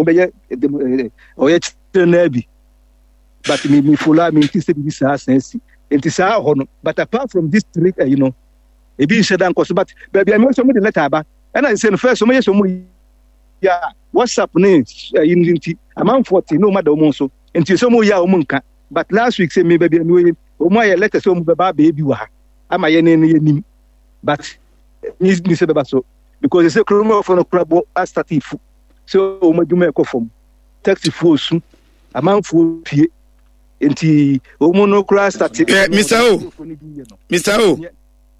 Wɔbɛyɛ ɔyɛ kyerɛ naa bi. But me me follow a me nti sɛ biribi saa san si. Nti saa hɔ no. But apart from this three ɛyi no, ebi nhyɛ da nkɔ so. But baabi a mi sɛ wɔn de letter aba. Ɛna sɛ no first wɔn yɛ sɛ wɔn yɛ a WhatsApp ne ɛyi no nti amanfoɔ te na wɔn ada wɔn nso. Nti sɛ wɔn yɛ a wɔn nka. But last week sɛ mi baabi a mi wɔ yi, wɔn ayɛ letter sɛ wɔn bɛba abɛyɛ bi wɔ ha ama yɛ ne ne yɛ nim. But ni ni sɛ bɛba so because sɛ kuromafo no kora bɔ asate fu sɛ wɔn adwuma ɛkɔ fam taxifoɔ su amanfoɔ pie nti wɔn no kora asate. Eh, Mr. O, Mr. O,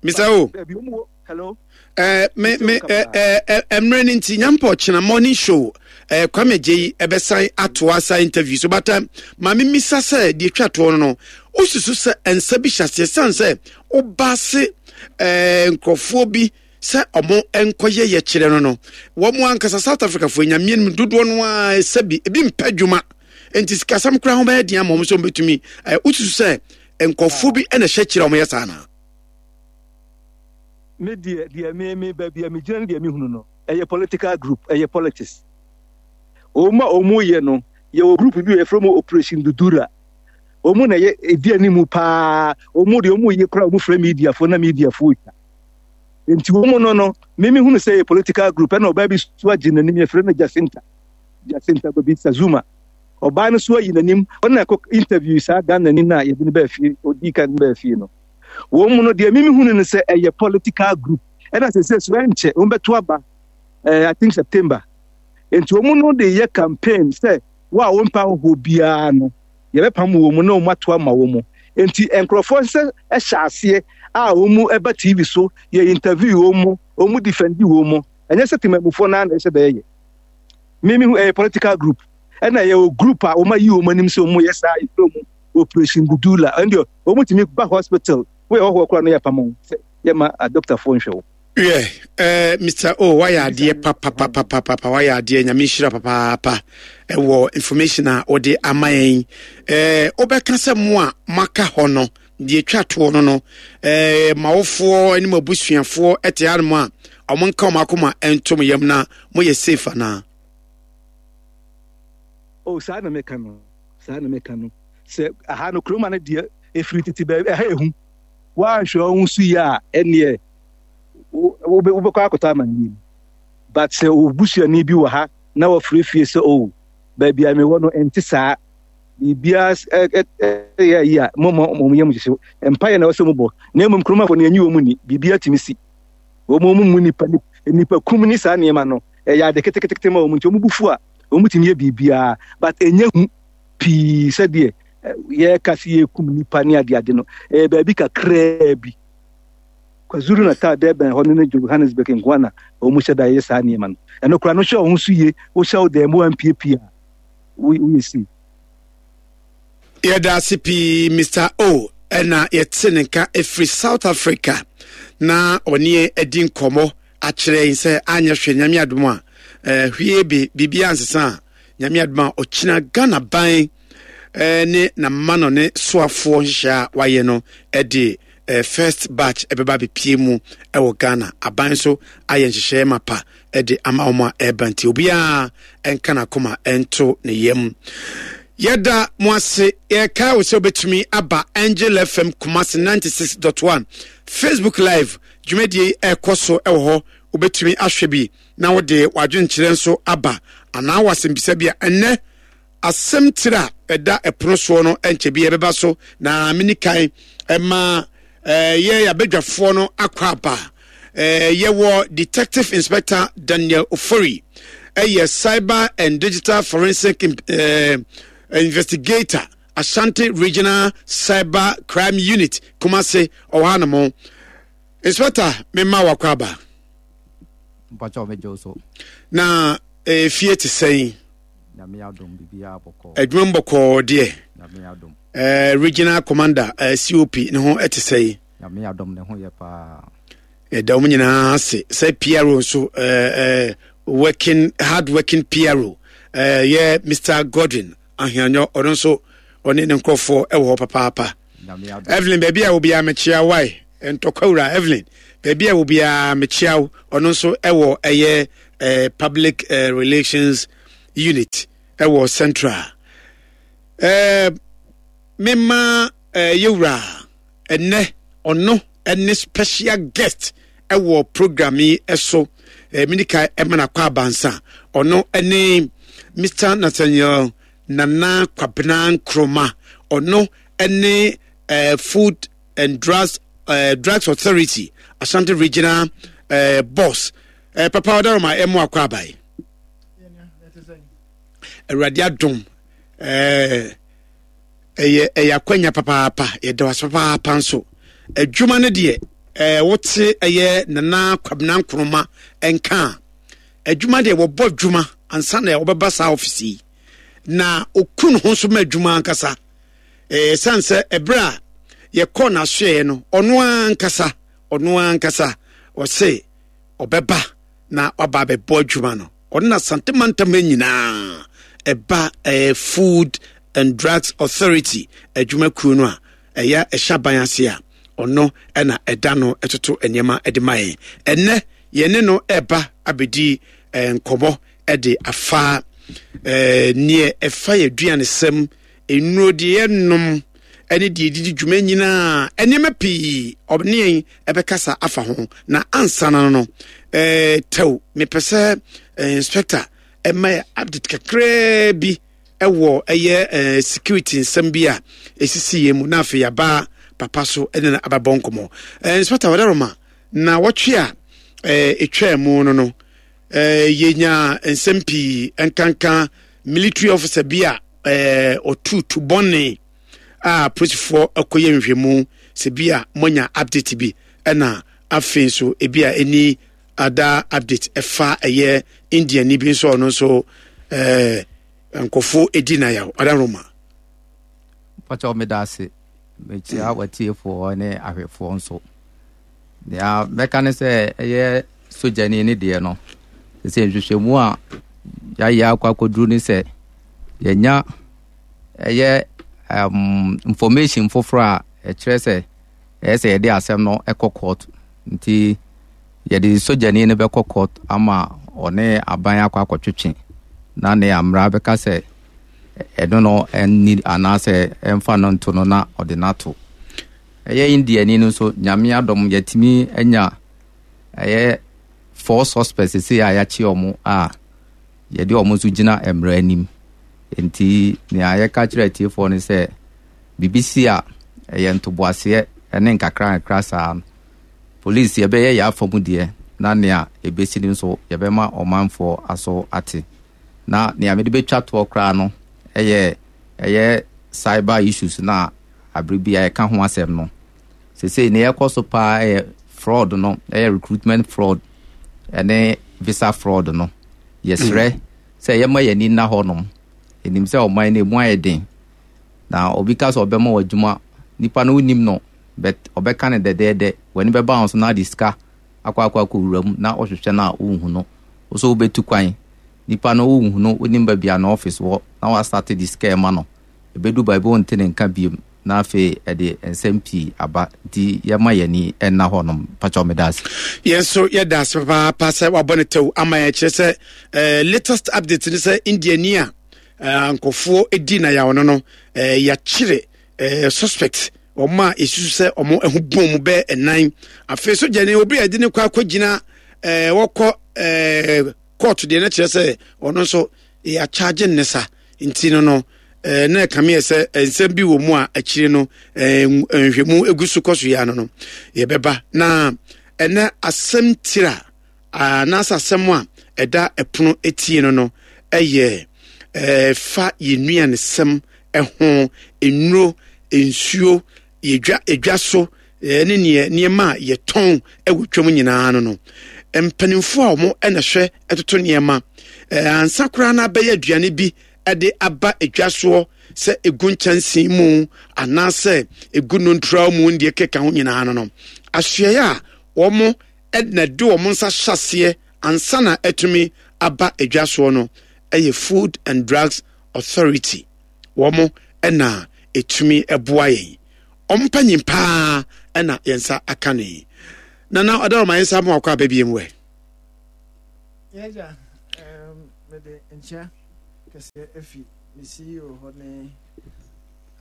Mr. O. Hello. Eh, me me eh, eh, eh, mmerɛ no nti nyampɔ kyena morning show eh, Kwame Gyei ɛbɛsan atoa saa interview so but eh, ma memisa sɛ deɛ twa toɔ no no wosusu sɛ nsa bi hyɛ aseɛ sane sɛ woba ase eh, nkurɔfoɔ bi sɛ ɔmo nkɔyɛ yɛkyerɛ no no wɔn ankasa South Africa foɔ nyameɛ no mu dodoɔ no ara sɛ bi ebi mpɛ adwuma nti sikasɛm koraa ho bɛyɛ den ama wɔn sɛ wɔn bɛtumi eh, wosusu sɛ nkurɔfoɔ bi na ɛhyɛ kyerɛ wɔn yɛ saa naa. Me deɛ deɛ me me baabi a megyina ne deɛ mehunu no ɛyɛ political group ɛyɛ politics wɔn a wɔn yɛ no yɛwɔ group bi yɛfrɛ mu operation dudura wɔn na ɛyɛ ɛdi anim paa wɔn deɛ wɔn yɛ koraa wɔn frɛ mediafoɔ na mediafoɔ twa nti wɔn no no me mehunu sɛ ɛyɛ political group ɛna ɔbaa bi so agye n'anim yɛfrɛ no Jacinta Jacinta Gobisa Zuma ɔbaa no so ayi n'anim ɔna ɛkɔ interview saa Ghana ni no a yɛde no baa fie ɔdii kan baa fie no Wɔn mu no, deɛ mimi hunu no sɛ ɛyɛ political group. Ɛna sɛ sɛ so ɛnkyɛ wɔn bɛto aba ɛɛ I think September. Nti wɔn no de yɛ campaign sɛ wo a wɔn mpa ahohoɔ biara no yɛbɛpam wɔn mu na wɔn ato ama wɔn mu. Nti nkurɔfoɔ sɛ ɛhyɛ aseɛ a wɔn mu ɛba TV so yɛ interview wɔn mu wɔn mu defend wɔn mu. Ɛnyɛ sɛ temamufoɔ naa na ɛhyɛ dɛ yɛ. Mimi hu ɛyɛ political group. Ɛna yɛwɔ group a wɔn ayi wɔn anim sɛ wɔn yɛ saa efiri wɔn operation gudula ɛn deɛ wɔn tumi ba hospital woyɛ hɔhoɔ koraa no yɛ apam wo sɛ yɛma adɔktafoɔ nhwɛ wo. Wiɛ, eh, Mr. O, wayɛ adeɛ papapapapapa, wayɛ adeɛ, nyame nhyira papaapa ɛwɔ information a wode ama yɛn. Eh, wobɛka sɛ mo a moaka hɔ no, deɛ ɛtwa toɔ no no, eh, mawofoɔ ne mo abusuafoɔ ɛte hanom a, ɔmo nka ɔmo akoma ɛnto mo yam na moyɛ safe anaa? Oh, saa na meka no. Saa na meka no. Sɛ aha no kuroma no deɛ ɛfiri tete baabi ɛha ehu. Woanhwɛ wo ho so yie a ɛneɛ wobɛkɔ akɔtɔ amanneɛ mu. But sɛ wo busuani bi wɔ ha na wɔfrɛ fie sɛ oh baabi a mewɔ no ɛnte saa biribiara ɛyɛ ayi a mo mo mo yam hyehye mpaeɛ na ɛwɔ sɛ mobɔ na mmom kuromafo no yɛnyi wɔn mu ni biribiara tumi si wɔn wɔn mu nipa nipa kum ne saa nneɛma no ɛyɛ ade ketekete ma wɔn nti wɔn bu fu a wɔn tumi yɛ biribiara but ɛnyɛ hu pii sɛdeɛ yɛka sɛ yɛkum nipa ne adeade no ɛyɛ baabi kakraa bi kwazulu natal durban hɔ no ne johannesburg nkoa na wɔn hyɛ da yɛ saa nneɛma no ɛno koraa no hyɛ wɔn so yie wohyɛ wo dan mu ampiapia a woyɛ si Yɛda ase pii Mister O ɛna yɛte ne nka ɛfiri South Africa na ɔne yɛn adi nkɔmmɔ akyerɛ yɛn sɛ anyɛ hwɛ nyame adom a eh, hwee be biribiara nsesa a nyame adom a ɔkyina Ghana ban eh, ne n'ama no ne soafoɔ nhyehyɛ a wayɛ no de eh, first batch ɛbɛba abɛpie mu ɛwɔ Ghana aban so ayɛ nhyehyɛeɛ mapa de ama wɔn a ɛreba nti obiara nka n'akoma nto ne yam yɛda mo ase yɛkae wo sɛ wobɛtumi aba Angel FM Kumasi 96.1 Facebook live dwumadie ɛrekɔ so ɛwɔ hɔ wobɛtumi ahwɛ bi na wode w'adwenkyerɛ nso aba anaa w'asɛmbisa bi a ɛnnɛ Asɛm tiri a ɛda ɛpono soɔ no nkyɛ bi ɛbɛba so na meni kan ɛma yɛ yɛabadwafoɔ no akɔ aba. Yɛwɔ Detective Inspector Daniel Ofori ɛyɛ Cyber and Digital Forensic Investigator Ashanti Regional Cyber Crime Unit Kumasi ɔwɔ ha nom. Inspector mema wakɔ aba. Mpakyɛw megye wo so. Na efie te sɛn? Nyame adom biribiara bɔkɔɔ. Adwuma mu bɔkɔɔ deɛ. Nyame adom. Eh, regional commander eh, COP ne ho te sɛn? Nyame adom ne ho yɛ paa. Yɛda wɔn nyinaa ase sɛ PRO nso eh, eh, working hard working PRO eh, yɛ Mr Godwin Ahianyɔ ɔno nso ɔne ne nkurɔfoɔ wɔ hɔ papaapa. Evelyn baabi a obiara mekyia wae ntɔkwa wura Evelyn baabi a obiara mekyia wo ɔno nso ɛwɔ ɛyɛ eh, public eh, relations. Unit ɛwɔ Central. Ɛɛ mema ɛɛ yɛwura ɛnɛ ɔno ɛne special guest ɛwɔ program yi ɛso. Ɛɛ minika ɛma na kɔ abansa ɔno ɛne Mr. Nathaniel Nana Kwabena Nkrumah ɔno ɛne ɛɛ Food and Drugs ɛɛ Drugs Authority Ashanti Regional ɛɛ boss. Ɛɛ papa ɔdaroma ɛmo akɔ abae. Awurade adom ɛɛ ɛyɛ ɛyɛ akwanya papaapa yɛda wase papaapa nso adwuma no deɛ ɛɛ wote ɛyɛ Nana Kwabena Nkrumah nka a adwuma deɛ wɔbɔ adwuma ansa na wɔbɛba saa ɔfisi yi na oku ne ho nso ma adwuma ankasa ɛɛ san sɛ ɛberɛ a yɛkɔɔ n'asoɛeɛ no ɔno ankasa ɔno ankasa ɔse ɔbɛba na waba abɛbɔ adwuma no ɔno na Asante mantam ha nyinaa ɛba ɛɛ Food and Drugs Authority adwumakuo no a ɛyɛ ɛhyɛ aban ase a ɔno ɛna ɛda no ɛtoto nneɛma ɛde ma yɛn ɛnɛ yɛne no ɛba abɛdi ɛɛ nkɔmɔ ɛde afa ɛɛ neɛ ɛfa yɛ aduanesɛm nnuro deɛ yɛnom ɛne deɛ ɛdidi dwuma nyinaa nneɛma pii ɔne yɛn ɛbɛkasa afa ho na ansa no no ɛɛ tɛw mepɛ sɛ ɛɛ inspector ɛma yɛ update kakraa bi ɛwɔ ɛyɛ ɛɛ security nsɛm bi a esisi yɛn mu na afei yaba papa so ɛne no abɛbɔ nkɔmɔ ɛɛ inspector wɔdaroma na wɔtwe a ɛɛ etwaa mu no no ɛɛ yɛnya nsɛm pii nkanka military officer bi a ɛɛ ɔtu tu bɔne a polisifoɔ akɔyɛ nhwɛmu sɛ bi a moanya update bi ɛna afei nso ebi a ɛni ada update ɛfa ɛyɛ Indian ni bi nso ɔno nso ɛɛ nkɔfo edi na yaw ɔda Roma. Pɔtɔ meda ase mekyia watiefoɔ ne ahwɛfoɔ nso nea mɛka ne sɛ ɛyɛ sogyani ne deɛ no sɛ nhwehwɛmu a yɛayɛ akɔ akɔduru ne sɛ yɛnya ɛyɛ um, information foforɔ a ɛkyerɛ sɛ ɛyɛ sɛ yɛde asɛm no ɛkɔ court nti yɛde sogyani no bɛkɔ court ama ɔne aban akɔ akɔtwetwe na ne amra bɛka sɛ ɛno no ɛnni anaasɛ ɛmfa no nto no na ɔde no ato ɛyɛ indiani no nso nyame adɔm yɛtumi anya ɛyɛ four suspects sɛ a yɛakye ɔmo a yɛde wɔn nso gyina mmara anim. Enti nea yɛka kyerɛ atiefoɔ ne sɛ, biribi si a, ɛyɛ ntoboaseɛ ne nkakrankakra saa no. Polisi yɛbɛyɛ yɛn afa mu deɛ, na nea ɛbɛsi no nso yɛbɛma ɔmanfoɔ aso ate. Na nea mede bɛtwa toɔ koraa no yɛ ɛyɛ cyber issues no a abere bi a yɛka ho asɛm no. Sesei nea ɛkɔ so paa yɛ fraud no, ɛyɛ recruitment fraud ɛne visa fraud no. Yɛsrɛ sɛ yɛma yɛn ani nna hɔnom. Yɛnim sɛ ɔman no emu ayɛ den. Na obi ka sɛ ɔbɛma wɔ adwuma, nipa no wonim no, but ɔbɛka no dɛdɛɛdɛ. W'ani bɛba ho so na ade sika akɔ akɔ akɔ wura mu na ɔhwehwɛ no a wonhu no. Wo so wobɛtu kwan, nipa no wonhu no, wonim baabi a n'office wɔ na wasate de sika ɛma no. Ɛbɛdu baabi wonte ne nka biom. Na afei ɛde nsɛm pii aba nti yɛma yɛn ani nna hɔ nom. Pakyɛw meda ase. Yɛn nso yɛda ase papaapa sɛ wabɔ ne tɛw ama yɛn kyerɛ sɛ eh, latest update ne sɛ Indiani a eh, nkurɔfoɔ di na yaw no no eh, yɛakyere eh, suspect wɔn a yɛsusu sɛ wɔn ho bɔn mu bɛɛ ɛnan afei so gyane obi a yɛde ne kɔ akɔgyina eh, wɔkɔ eh, court deɛ no kyerɛ sɛ ɔno nso yɛakyagye ne sa nti no no eh, na ɛkame yɛ sɛ eh, nsɛm bi wɔ mu a akyire no eh, nhwɛmu egu so kɔ so yɛ ano no yɛbɛba na ɛnɛ asɛm tira anaasɛ asɛm a ɛda ɛpono etie no no ɛyɛ fa yɛn nnuanesɛm ɛho nnuro nsuo yɛdwa edwa so ne neɛ nneɛma a yɛtɔn wɔ twam nyinaa no no mpanimfoɔ a wɔn na hwɛ toto nneɛma ansa koraa na abɛyɛ aduane bi de aba edwa soɔ sɛ egu nkyɛnsee mu anaasɛ egu nontura mu deɛ keka ho nyinaa no no asoɛeɛ a wɔn na de wɔn nsa hyɛ aseɛ ansa na atumi aba edwa soɔ no ɛyɛ Food and Drugs Authority wɔn na ɛtumi boa yɛn. Wɔn mpanyin paa na yɛn nsa aka no yi. Nana ɔdaroma yɛn nsa ama wakɔ aba biem wɛ. Yɛgya, mede nkyia. kɛseɛ afi me CEO hɔ ne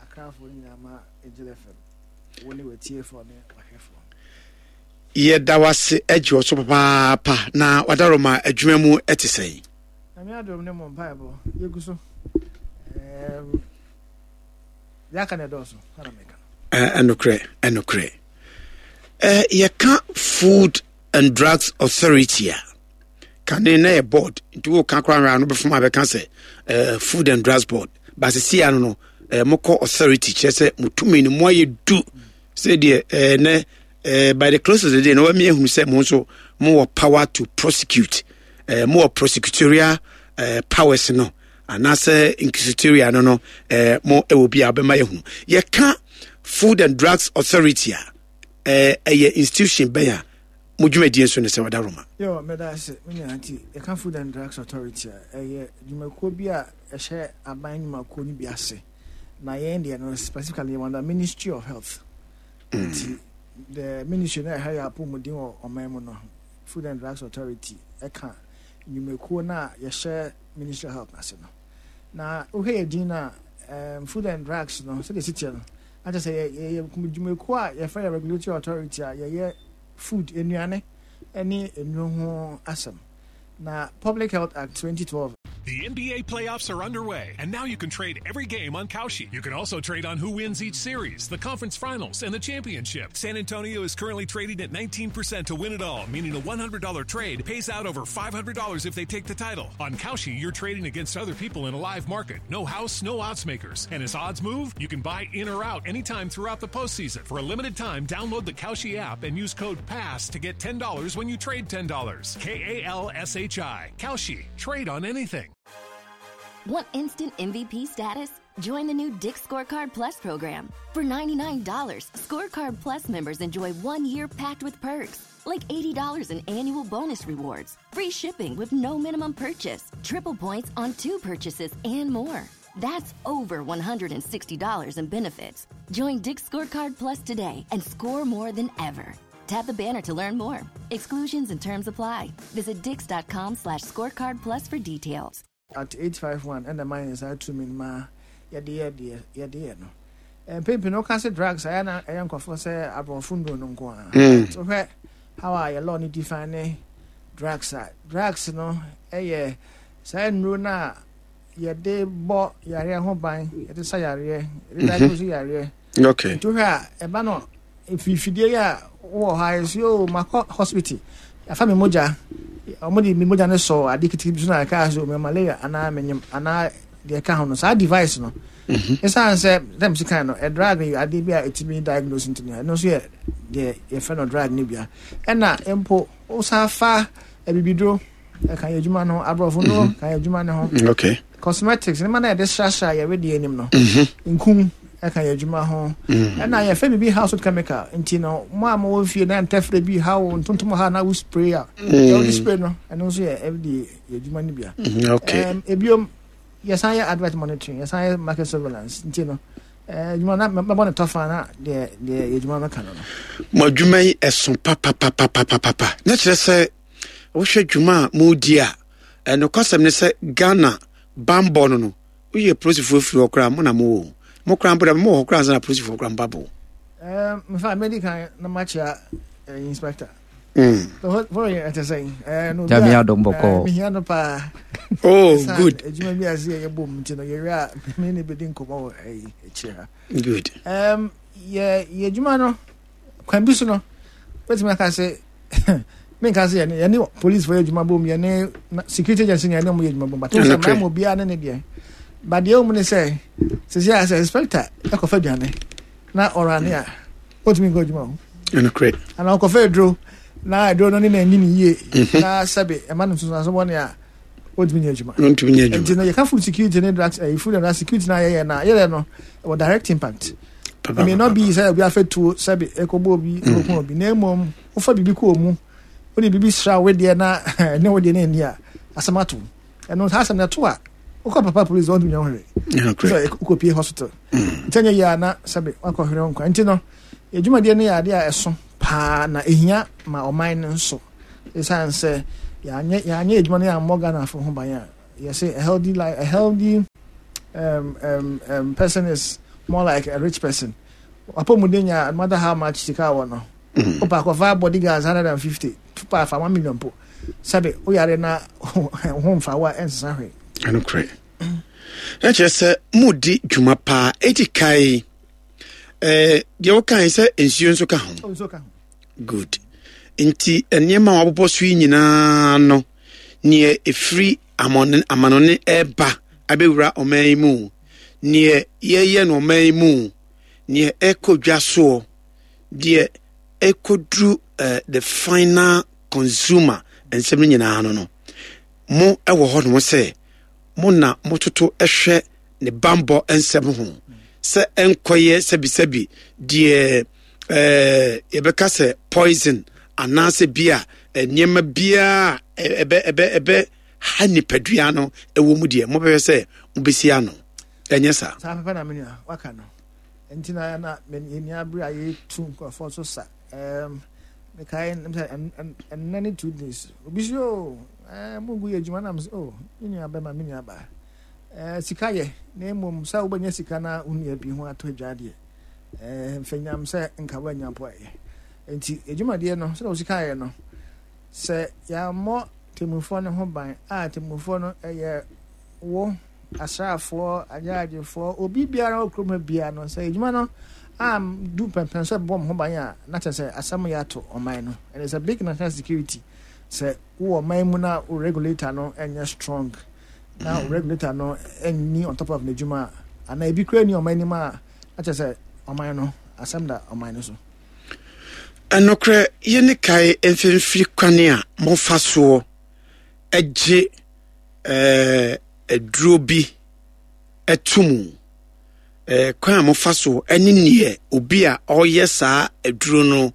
Akrafoɔ no nyinaa ma Angel FM, wo ne w'atiefoɔ ne w'ahwɛfoɔ. Yɛda wase agye wɔ so papaapa na wadaroma adwuma mu te sɛn? Nyame adom ne mo mpaebɔ yɛgu so. Deɛ aka no ɛdɔɔso ana meka no. Ɛnokorɛ ɛnokorɛ. Yɛka Food and Drugs Authority a kane na yɛ board nti woka koraa nwera no bɛfom a bɛka sɛ Food and Drugs Board basisi ano no mokɔ authority kyerɛ sɛ motumi no moayɛ du sɛdeɛ nɛ by the close of the day na wami ehunu sɛ mo nso mowɔ power to prosecute mowɔ prosecutorial powers no anaasɛ inquisitorial no no mo ɛwɔ bi a bɛma yɛhunu yɛka Food and Drugs Authority a ɛyɛ institution bɛn a mo dwumadie nso ne sɛ wɔda Roma. Yo, meda ase me nua. Nti yɛka Food and Drugs Authority a, ɛyɛ dwumakuo bi a ɛhyɛ aban nnwumakuo no bi ase. Na yɛn deɛ no specifically yɛwɔ under Ministry of Health. Nti the ministry na ɛhwɛ yɛ apɔmuden wɔ ɔman mu no, Food and Drugs Authority ɛka nnwumakuo no a yɛhyɛ Ministry of Health ase no. Na wohwɛ yɛ din no a, Food and Drugs no sɛdeɛ ɛsi teɛ no, na kyerɛ sɛ yɛyɛ dwumakuo a yɛfrɛ yɛ regulatory authority a yɛyɛ food, nnuane ne nnuro ho asɛm. Na Public Health Act 2012. The NBA playoffs are underway, and now you can trade every game on Kalshi. You can also trade on who wins each series, the conference finals, and the championship. San Antonio is currently trading at 19% to win it all, meaning a $100 trade pays out over $500 if they take the title. On Kalshi, you're trading against other people in a live market. No house, no odds makers. And as odds move, you can buy in or out anytime throughout the postseason. For a limited time, download the Kalshi app and use code PASS to get $10 when you trade $10. K A L S H I. Kalshi. Trade on anything. Want instant MVP status? Join the new Dick's Scorecard Plus program. For $99, Scorecard Plus members enjoy 1 year packed with perks, like $80 in annual bonus rewards, free shipping with no minimum purchase, triple points on two purchases, and more. That's over $160 in benefits. Join Dick's Scorecard Plus today and score more than ever. Tap the banner to learn more. Exclusions and terms apply. Visit dicks.com/scorecard plus for details. Act 851 ɛna ɛma yɛn saa tumi no ma yɛde yɛ deɛ yɛde yɛ no. Mpɛn pii no woka sɛ drugs a, ɛyɛ na ɛyɛ nkurɔfoɔ sɛ aborɔfo nnuro no nko ara. But wohwɛ how a yɛ law no define ne drugs a, drugs no yɛ saa nnuro no a yɛde bɔ yareɛ ho ban, yɛde sa yareɛ, yɛde diagnose yareɛ. Nti wohwɛ a ɛba no mfidie yi a wowɔ hɔ a yɛsi o makɔ hospital afa me mogya, wɔn de me mogya no sɔ ade ketekete bi so na ɛka so me malaria anaa menyim anaa deɛ ɛka ho no, saa device no ɛsan sɛ dɛm si kan no ɛ drug yɛ ade bi a ɛtumi diagnose, nti no ɛno nso yɛ deɛ yɛfrɛ no drug no bia. Ɛna mpo wosan fa abibiduro ɛka yɛ adwuma no ho, aborɔfo no ka yɛ adwuma no ho, cosmetics nneɛma na yɛde srasra yɛ wedeɛ anim no, nkum ɛka yɛ adwuma ho, ɛna yɛfɛ biribi household chemical. Nti no mo a mowɔ fie na ntɛfrɛ bi ha wo ntontom ha na wo spray a yɛ wode spray no, ɛno nso yɛ ɛde yɛ adwuma no bia. Ebiom yɛsan yɛ advert monitoring, yɛsan yɛ market surveillance. Nti no adwuma na mɛbɔ ne tɔfa na deɛ deɛ yɛ adwuma no ka no no. Mo adwuma yi ɛso papapapapapa na kyerɛ sɛ wohwɛ dwuma a modi a, nokwasɛm ne sɛ Ghana bambɔ no no woyɛ polisifoɔ firi hɔ koraa mo na mowɔ mo koraa mpo dɛ mowɔ hɔ koraa ansa na polisifoɔ koraa mba bo. Mfa mɛdi kan na makyea inspector. Nyame adom bɔkɔɔ. Mehia no paa. Oh, good. Adwuma bi ase yɛ yɛbɔ mu nti no yɛwie a me ne bɛdi nkɔmmɔ wɔ akyire ha. Good. Yɛ yɛ adwuma no kwan bi so no bɛtumi aka sɛ menka sɛ yɛne yɛne police fo yɛ adwuma bom, yɛne security agency ne yɛne ɔmo yɛ adwuma bom, but sɛ mmaa mu obiara ne ne deɛ, but deɛ ɔmu ne sɛ sisi a sɛ inspector ɛkɔfa aduane na ɔrane a ɔntumi nkɔ adwuma ho. Ɛnokorɛ. Ana ɔkɔfa aduro na aduro no ne na ɛni ne yie na sɛbe ɛma no nsunsuanso bɔne a, ɔntumi nyɛ adwuma. Ɔntumi nyɛ adwuma. Nti no yɛka food security ne drugs, food and drug security na yɛyɛ na yɛyɛ no ɛwɔ direct impact. It may not be sɛ obi afɛ tuo sɛbe ɛkɔbɔ obi ɛkɔku obi, na mmom wofa biribi kɔ mu, wode biribi sra wo deɛ na ɛne wo deɛ no ani a asɛm ato ɛno saa asɛm no ɛto a wokɔ papa police ɔntumi nyɛ wo hwee sɛ wokɔpie hospital nti ɛnyɛ yie a na sɛbe wakɔhwere wo nkwa. Nti no yɛdwumadie no yɛ adeɛ a ɛso paa na ɛhia ma ɔman no nso, ɛsiane sɛ yɛanyɛ adwuma no yɛammɔ Ghanafo ho ban a. Yɛse a healthy life, a healthy um, um, um, person is more like a rich person. Wapɔmuden nya no matter how much sika wɔ no. Wopa akɔfa bodyguards 150, pa afa 1 million po. Sɛbe woyare na ho mfa wo a ɛnsesa hwee. Ɛnokorɛ. Na kyerɛ sɛ modi dwuma paa. Edi kae eh, deɛ wokae sɛ nsuo nso ka ho. Oh, nsuo ka ho. Good. Nti nneɛma a wɔabobɔ so yi nyinaa no, neɛ ɛfiri amanɔne ɛreba abɛwura ɔman yi mu, neɛ yɛyɛ no ɔman yi mu, neɛ ɛkɔ dwa soɔ, deɛ ɛkɔduru uh, the final consumer nsɛm no nyinaa no no, mo wɔ hɔ nom sɛ mo na mototo hwɛ ne bambɔ nsɛm ho sɛ ɛnkɔyɛ sɛbisɛbi deɛ ɛɛ yɛbɛka sɛ poison anaasɛ bi a nneɛma biara ɛbɛ ɛbɛ ɛbɛ ha nipadua no ɛwɔ mu deɛ mobɛhwɛ sɛ mobɛsi ano ɛnyɛ saa. Saa pɛpɛ na menua waka no nti na na yɛni abere a yɛtu nkurɔfoɔ so sa ɛɛm mekae sɛ ɛnnɛ ne 2 days obi si o ɛɛ mo ngu yɛ adwuma nam sɛ o me nua bɛma me nua baa ɛɛ sika yɛ na mmom sɛ wobɛnya sika na wo nua bi ho atɔ adwa deɛ ɛɛ mfɛnyam sɛ nka woanya mpo ɛyɛ nti adwumadeɛ no sɛdeɛ wo sika yɛ no sɛ yɛammɔ temmufoɔ no ho ban a temmufoɔ no ɛyɛ wo asraafoɔ agyaagyefoɔ obi biara wɔ kurom ha biara no sɛ adwuma no am du pɛmpɛn sɛ bɔ mo ho ban a na kyerɛ sɛ asɛm yɛ ato ɔman no. And it's a big national security sɛ wowɔ ɔman mu na wo regulator no ɛnyɛ strong na wo regulator no ɛnni on top of n'adwuma a anaa ebi kura ni ɔman anim a na kyerɛ sɛ ɔman no asɛm da ɔman no so. Ɛnokorɛ yɛne kae mfimfiri kwane a mofa soɔ gye aduro bi to mu, kwan a mofa so ne neɛ obi a ɔreyɛ saa aduro no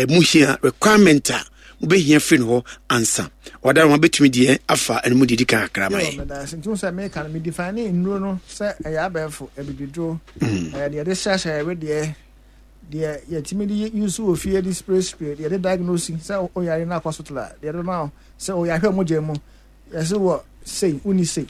mu hia requirement a mobɛhia firi no hɔ ansa ɔda no bɛtumi deɛ afa ɛno mu deɛ di kan kakra ma yɛ. Nti sɛ meka no medefine ne nnuro no sɛ ɛyɛ abɛɛfo abibiduro ɛyɛ deɛ yɛde hyɛhyɛ ɛwedeɛ deɛ yɛtumi de use wɔ fie de spray spray deɛ yɛde diagnose sɛ oyare no akɔ hospital a deɛ yɛde bɛma wo sɛ oyɛ ahwɛ mogya mu yɛsɛ wɔ sei wonni sei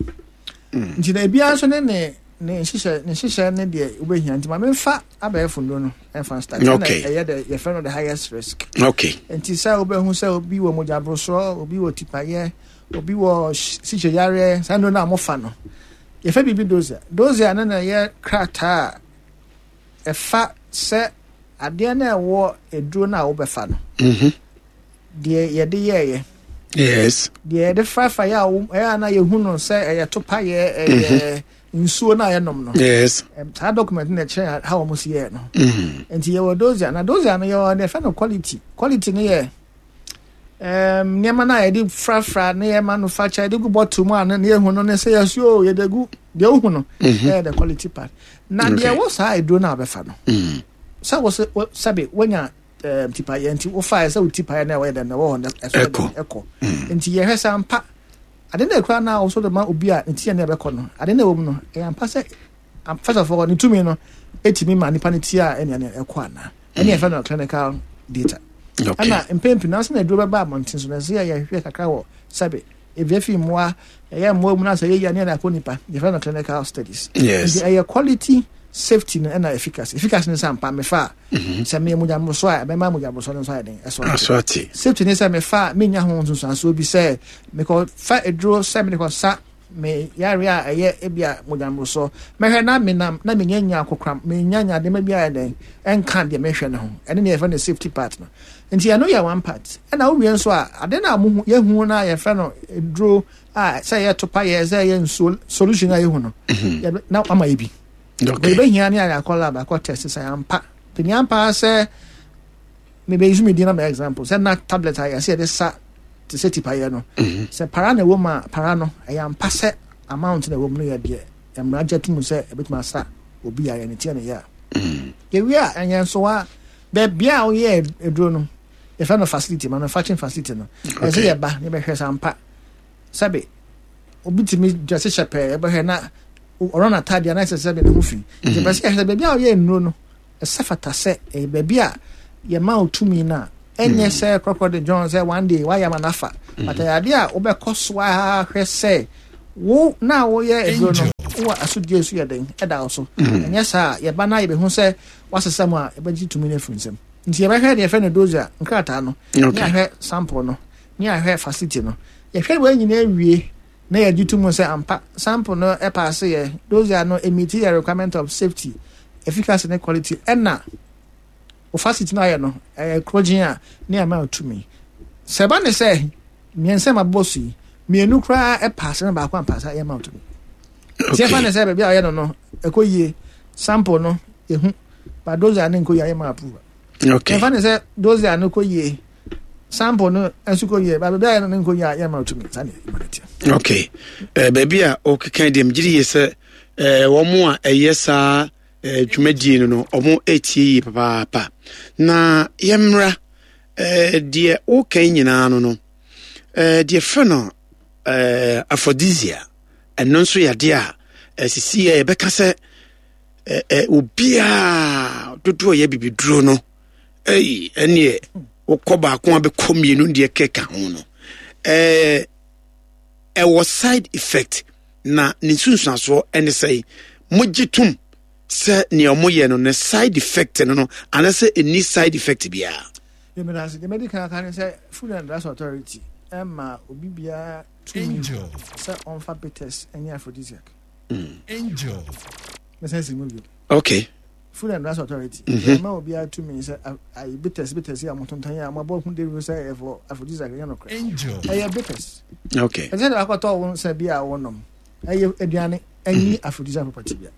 nti na ebiara nso ne ne ne nhyehyɛ ne nhyehyɛ ne deɛ wobɛhia nti ma memfa abɛɛfo nnuro no ɛmfa start okay. ɛna ɛyɛ the yɛfrɛ no the highest risk okay. Nti sɛ wobɛhu sɛ obi wɔ mogya borosoɔ, obi wɔ tipayɛ, obi wɔ sikye yareɛ, saa nnuro no a mofa no yɛfɛ biribi dosia. Dosia no na ɛyɛ krataa a ɛfa sɛ adeɛ no a ɛwɔ aduro no a wobɛfa no deɛ yɛde yɛɛyɛ yes deɛ yɛde frafra yɛ a ɛyɛ a na yɛhu no sɛ ɛyɛ topayɛ ɛyɛ nsuo no a yɛnom no yes saa document no ɛkyerɛ how wɔn si yɛɛ no nti yɛwɔ dosia na dosia no yɛwɔ deɛ yɛfrɛ no quality. Quality no yɛ nneɛma no a yɛde frafra ne yɛ manufacture yɛde gu bottle mu a ne yɛhu no ne sɛ yɛsi o yɛde gu deɛ wohu no ɛyɛ the quality part na deɛ ɛwɔ saa aduro no a wɔbɛfa no sɛ wɔ sɛ sɛbe wonya tipayɛ nti wofaeɛ sɛ wo tipayɛ no a ɛwɔ yɛ dɛm na ɛwɔ hɔ no ɛso ɛkɔ ɛkɔ nti yɛhwɛ sɛ ampa ade no ekura no a wɔso de ma obi a ne ti yɛ no ɛbɛkɔ no ade no ɛwɔ mu no ɛyɛ ampa sɛ first of all ne tumi no etumi ma nipa ne ti a ɛnea ne ɛkɔ anaa ɛne yɛfrɛ no clinical data. Ɛna mpɛn pii nanso na aduro bɛba abɔnten so na ɛsɛ yɛ yɛhwɛ kakra wɔ sɛbe ebi efi mmoa ɛyɛ mmoa mu na sɛ yɛyɛ ne yɛde akɔ nipa yɛfrɛ no clinical studies. Yes. Nti ɛyɛ quality, safety no ɛna efficacy. Efficacy no sɛ ampa mefa a sɛ meyɛ mogyaboroso a ɛbɛma mogyaboroso no nso ayɛ den ɛso ate. Safety ne sɛ mefa a menya ho nsunsuansoɔ bi sɛ mekɔ fa aduro sɛ mede kɔ sa me yare a ɛyɛ ebi a mogyaboroso mɛhwɛ na menam na menya nya akokram menya nya nneɛma bi ayɛ den ɛnka deɛ mehwɛ no ho ɛne ne yɛfrɛ no safety part no. Nti ɛno yɛ one part. Ɛna wowie nso a ade no a muhu yɛhu no a yɛfrɛ no aduro a sɛ yɛ topa yɛ sɛ yɛ nsuo solution a yɛhu no na ama yɛ bi. Yɛbɛhia ne ayɛ akɔ lab akɔ test sɛ ampa nti ampa sɛ mebɛyi so medin na mɛ example sɛ na tablet a yɛsɛ yɛde sa te sɛ tipayɛ no sɛ para na ɛwɔ mu a para no ɛyɛ ampa sɛ amount na ɛwɔ mu no yɛ deɛ mmara gye atum sɛ ɛbɛtumi asa obi yareɛ ne tiɛ ne yɛ a yɛwie a ɛnyɛ nso a baabi a woyɛ aduro no yɛfrɛ no facility manufacturing facility no ɛsɛ yɛba ne bɛhwɛ sɛ ampa sɛbe obi tumi drɛse hyɛ pɛɛ yɛbɛhwɛ na ɔrɔ n'ataadeɛ anaa ɛsɛ sɛ ne ho fi nti bɛsɛ yɛhwɛ sɛ baabi a woyɛ nnuro no ɛsɛ fata sɛ ɛyɛ baabi a yɛma wo tumi no a ɛnyɛ sɛ korɔkorɔ de John sɛ one day wayɛ ama no afa but ɛyɛ adeɛ a wobɛkɔ so ahwɛ sɛ. Wo na woyɛ aduro no, wowɔ asodie so yɛ den ɛda wo so. Mm. Ɛnyɛ saa a, yɛba na yɛbɛhu sɛ woasesa mu a, yɛbɛgye tumi no afiri nsam. Nti yɛbɛhwɛ deɛ yɛfrɛ no dosia nkrataa no, ne ahwɛ sample no, ne ahwɛ facility no. Yɛhwɛ wei nyinaa wie na yɛgye to mu sɛ ampa sample no ɛpaase yɛ, dosia no ɛmiti yɛ requirement of safety, efficacy ne quality, ɛna wo facility no ayɛ no ɛyɛ korogyen a ne ama tumi. Sɛ ɛba ne sɛ mmiɛnsa ma bɔ so yi, mmienu koraa ɛpaase na baako ampaase a yɛma tumi. Nti ɛfa ne sɛ baabi a ɔyɛ no no ɛkɔ yie, sample no yɛhu, ba dosia no nkɔ yie a yɛma approve. Okay. Ɛfa ne sɛ dosia no kɔ yie, sample no nso kɔ yie, ba baabi a yɛ no no nkɔ yie a yɛma tumi. Saa ne ɛma no teɛ. Okay. Eh, baabi a ɔkeka deɛ megye di yie sɛ eh, wɔn a ɛyɛ saa eh, dwumadie no no wɔn ɛretie yie papaapa. Na yɛmmra eh, deɛ woka yi nyinaa no no eh, deɛ frɛ no eh, aphrodisia ɛno nso yɛ adeɛ a ɛsisi yɛ yɛbɛka sɛ eh, eh, obiara dodoɔ yɛ bibiduro no ɛyi ɛneɛ wokɔ baako a bɛkɔ mmienu deɛ kɛka ho no ɛɛ ɛwɔ side effect na ne nsunsuansoɔ ɛne sɛ mogye tom sɛ nea wɔyɛ no ne side effect no no anaasɛ ɛnni side effect biara. Yɛmɛdase deɛ mɛdi kan aka ne sɛ Food and Drugs Authority ɛma obi biara tumi sɛ ɔmfa bitters ɛnyɛ aphrodisiac. Mm. Angel. Mɛsɛn si mu bio. Okay. Food and Drugs Authority. Mm-hmm. Ɛma obiara tumi sɛ ayi bitters bitters yi a wɔtontɔn yi a wɔabɔ ho dawuro sɛ ɛyɛ for aphrodisiac ɛnyɛ nokorɛ. Angel. Ɛyɛ bitters. Okay. Ɛsɛ sɛ akɔtɔ wo nsa bi a wɔnom ɛyɛ aduane ɛnyi mm-hmm. aphrodisiac property bia.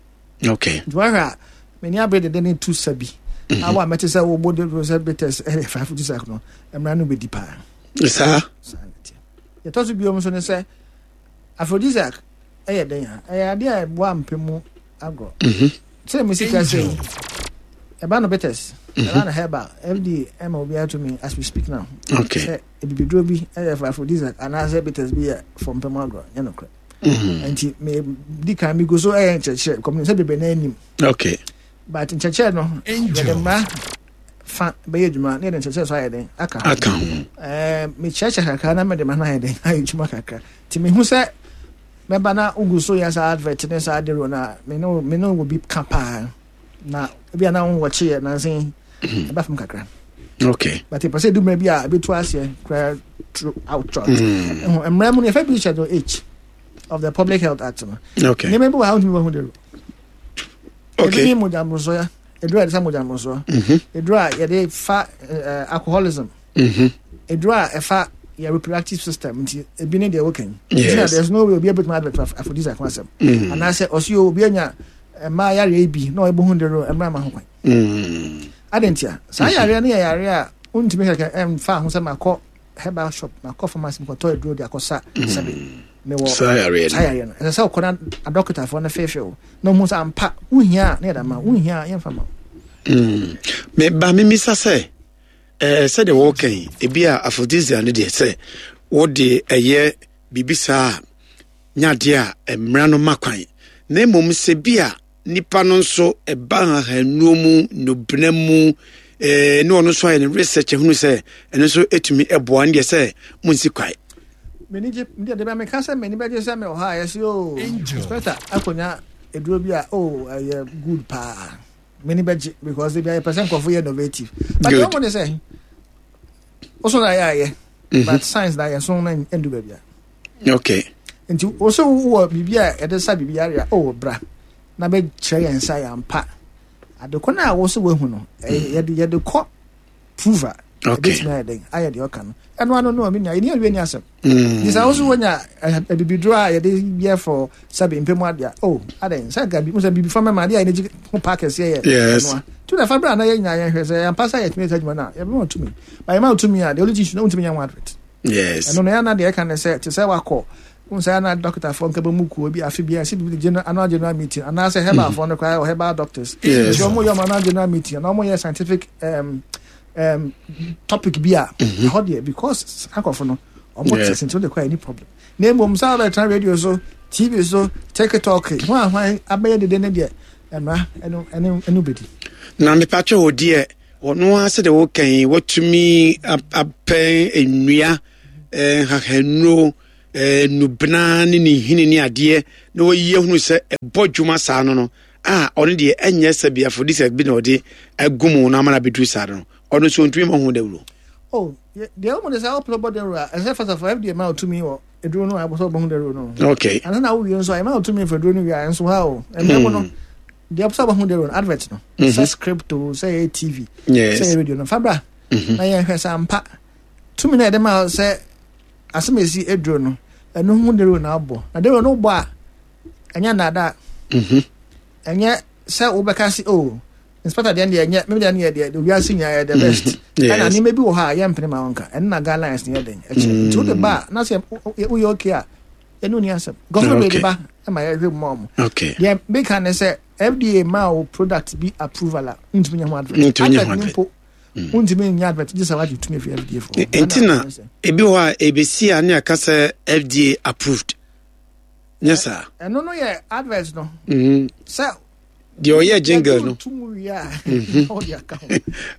Okay. Nti wahwɛ a m'ani abere dede ne tu sa bi. Mm-hmm. Awo a mɛte sɛ wɔbɔ dawuro sɛ bitters ɛyɛ for aphrodisiac no mmara no bɛdi paa. Saa. Saa na ɛteɛ. Yɛtɔ so bio nso ne sɛ aphrodisiac ɛyɛ dɛn a ɛyɛ adeɛ a ɛboa mpɛ mu agorɔ. Mhm. Sɛ mo sika sɛ yi ɛba no bitters mhm. ɛba no herbal FDA ɛma obiara tumi as we speak now. Okay. Sɛ ebibiduro bi ɛyɛ for aphrodisiac anaasɛ bitters bi yɛ for mpɛ mu agorɔ nyɛ nokorɛ. Mhm. Nti me di kan mi gu so ɛyɛ nkyerɛkyerɛ kɔmi sɛ bebree na anim. Okay. But nkyerɛkyerɛ no yɛde mmara fa bɛyɛ adwuma na yɛde nkyerɛkyerɛ so ayɛ den aka ho. Aka ho. Ɛɛ mekyerɛkyerɛ kakra na mede ma no ayɛ den ayɛ adwuma kakra. Nti mehu sɛ mɛba na wogu so yɛ saa advert ne saa dero no a me ne me ne wɔ bi ka paa na ebi a na wo wɔkye yɛ nanse mhm. ɛba fam kakra. Okay. But ɛpɛ sɛ edu mmerɛ bi a ebetu aseɛ koraa through out throughout. Mm. Mmerɛ mu no yɛfɛ bi schedule H of the Public Health Act no. Okay. Nneɛma bi wɔ ha wontumi wɔ ho dero. Okay. Ebi ne mogya mmorosoɔ ya. Eduro a yɛde sa mogya mmorosoɔ. Mhm. Eduro a yɛde fa eh, alcoholism. Mhm. Eduro a ɛfa yɛ reproductive system nti ebi ne deɛ wɔka yi. Yes. Nti na there's no way obi ebetumi advert aphrodisiac ho asɛm. Mm. Anaasɛ ɔsi o obi anya mmaa yareɛ bi na ɔbɔ ho dero mmerɛ ama ho kwan. Mm. Adi ntia saa yareɛ no yɛ yareɛ a wontumi kɛkɛ ɛmfa ho sɛ makɔ herbal shop makɔ pharmacy mekɔtɔ aduro de akɔsa sɛbe mewɔ saa yareɛ no saa yareɛ no ɛsɛ sɛ wokɔ na adɔkotafoɔ no feefee wo na ɔhu sɛ ampa wohia a na yɛde ama wo wonhia a yɛmfa ma wo mm. meba memisa sɛ eh, sɛdeɛ wɔka yi ebi a aphrodisia no deɛ sɛ wode ɛyɛ biribi saa a nyadeɛ a mmara no ma kwan na mmom sɛ bi a Nipa no nso ɛba nhahannuo mu, nnubena mu, eh, ne ɔno nso ayɛ ne research ahunu sɛ ɛno nso ɛtumi ɛboa ne deɛ sɛ monsi kwae. M'ani gye deɛ deɛ meka sɛ m'ani bɛgye sɛ mewɔ hɔ a yɛse o oh, inspector akɔnya aduro bi a o oh, ɛyɛ good paa m'ani bɛgye because ebi ayɛ pɛ sɛ nkurɔfo yɛ innovative but deɛ ɔmo ne sɛ woso na ayɛ ayɛ mhm. but science na yɛ so na ndu baabi a okay nti wo sɛ wowɔ biribi a yɛde sa biribi yare a oh bra na bɛkyerɛ yɛn nsa yɛ ampa adekɔ no a wo sɛ woahu no yɛde yɛde kɔ prove a ɛbɛtumi ayɛ dɛn ayɛ deɛ ɔka no ɛno ano no a menua yɛne awie ni asɛm mm. nti sɛ wo so wonya abibiduro a yɛde yɛ fɔ sɛbe mpɛ mu adeɛ a oh adɛn sɛ nka sɛ biribi fa mɛma adeɛ a yɛde gye ho paa kɛseɛ yɛ ɛnoa tu na fa bra na yɛ nyinaa yɛhwɛ sɛ yɛmpa sɛ yɛtumi sɛ adwuma no a yɛbɛma tumi ba yɛma tumi a the only thing you know wontumi nyɛ ho advert Yes. Ɛno no yɛ na deɛ ɛka ne sɛ te sɛ wakɔ n sɛ na dɔktafoɔ nka bɛ mu kuo bi afe bi a ɛsɛ bi general annual general meeting anaasɛ herbalfoɔ no koraa wɔ herbal doctors. Yes. Nti wɔn yɛ wɔn annual general meeting na wɔn yɛ scientific um, um, topic bi a mm-hmm. ɛhɔ deɛ because akɔfo no wɔn te sɛ nti wɔn de kɔ any problem. Na mmom sɛ wɔbɛtena radio so TV so TikTok ho ahwan abɛyɛ dede ne deɛ ɛmra ɛno ɛno ɛno bɛdi. Na mepatwa wɔ deɛ. Ɔno ara sɛdeɛ woka yi, watumi apɛ nnua, nhahanuro, eh, nubena ne ne nhini ne adeɛ na wayi ahunu sɛ ɛbɔ dwuma saa no no a ɔno deɛ ɛnyɛ sɛ bi aphrodisiac bi na ɔde agu mu na ama no abɛduru saa no ɔno nso ɔntumi ma ho dawuro. Oh, deɛ wɔn de sɛ ɔpɛ bɔ dawuro a ɛsɛ first of all FDA ma ɔtumi wɔ eduro no a ɛbɔ sɛ ɔbɔ ho dawuro no. Okay. Ansa na awowie nso a ɛma ɔtumi fɛ duro no wie a nso ha o ɛmɛ mu no hmm. deɛ ɔpɛ sɛ ɔbɔ ho dawuro no advert no mhm. sɛ script o sɛ ɛyɛ TV sɛ ɛyɛ radio no fabra mhm. na yɛn hwɛ sɛ ampa tumi na yɛde ma sɛ asɛm esi eduro no ɛno ho dawuro na abɔ na dawuro no bɔ a ɛnyɛ nnaadaa mhm. ɛnyɛ sɛ wobɛka se o oh, inspector deɛ deɛ ɛnyɛ meme deɛ deɛ deɛ wiase nyinaa yɛ the mhm. best ɛna nneɛma bi wɔ hɔ a yɛmpene ma wɔnka ɛno na guidelines no yɛ den ɛkyerɛ mm. nti wode ba a na sɛ woyɛ okay a ɛne woni asɛm gɔfo bɛde ba ma yɛhwɛ mu ma ɔmo deɛ meka ne sɛ fda ma wo product bi approval a wontumi nyɛ ho advert advert ne mpo wontumi nyɛ advert gye sɛ wagye tumi afiri fda fo nti na ebi hɔ a ɛbɛsi a ne aka sɛ fda approved nyɛ saa. ɛno no yɛ advert no. Mm-hmm. sɛ deɛ ɔyɛ jingle no. tum wie a mm-hmm. ɔde aka ho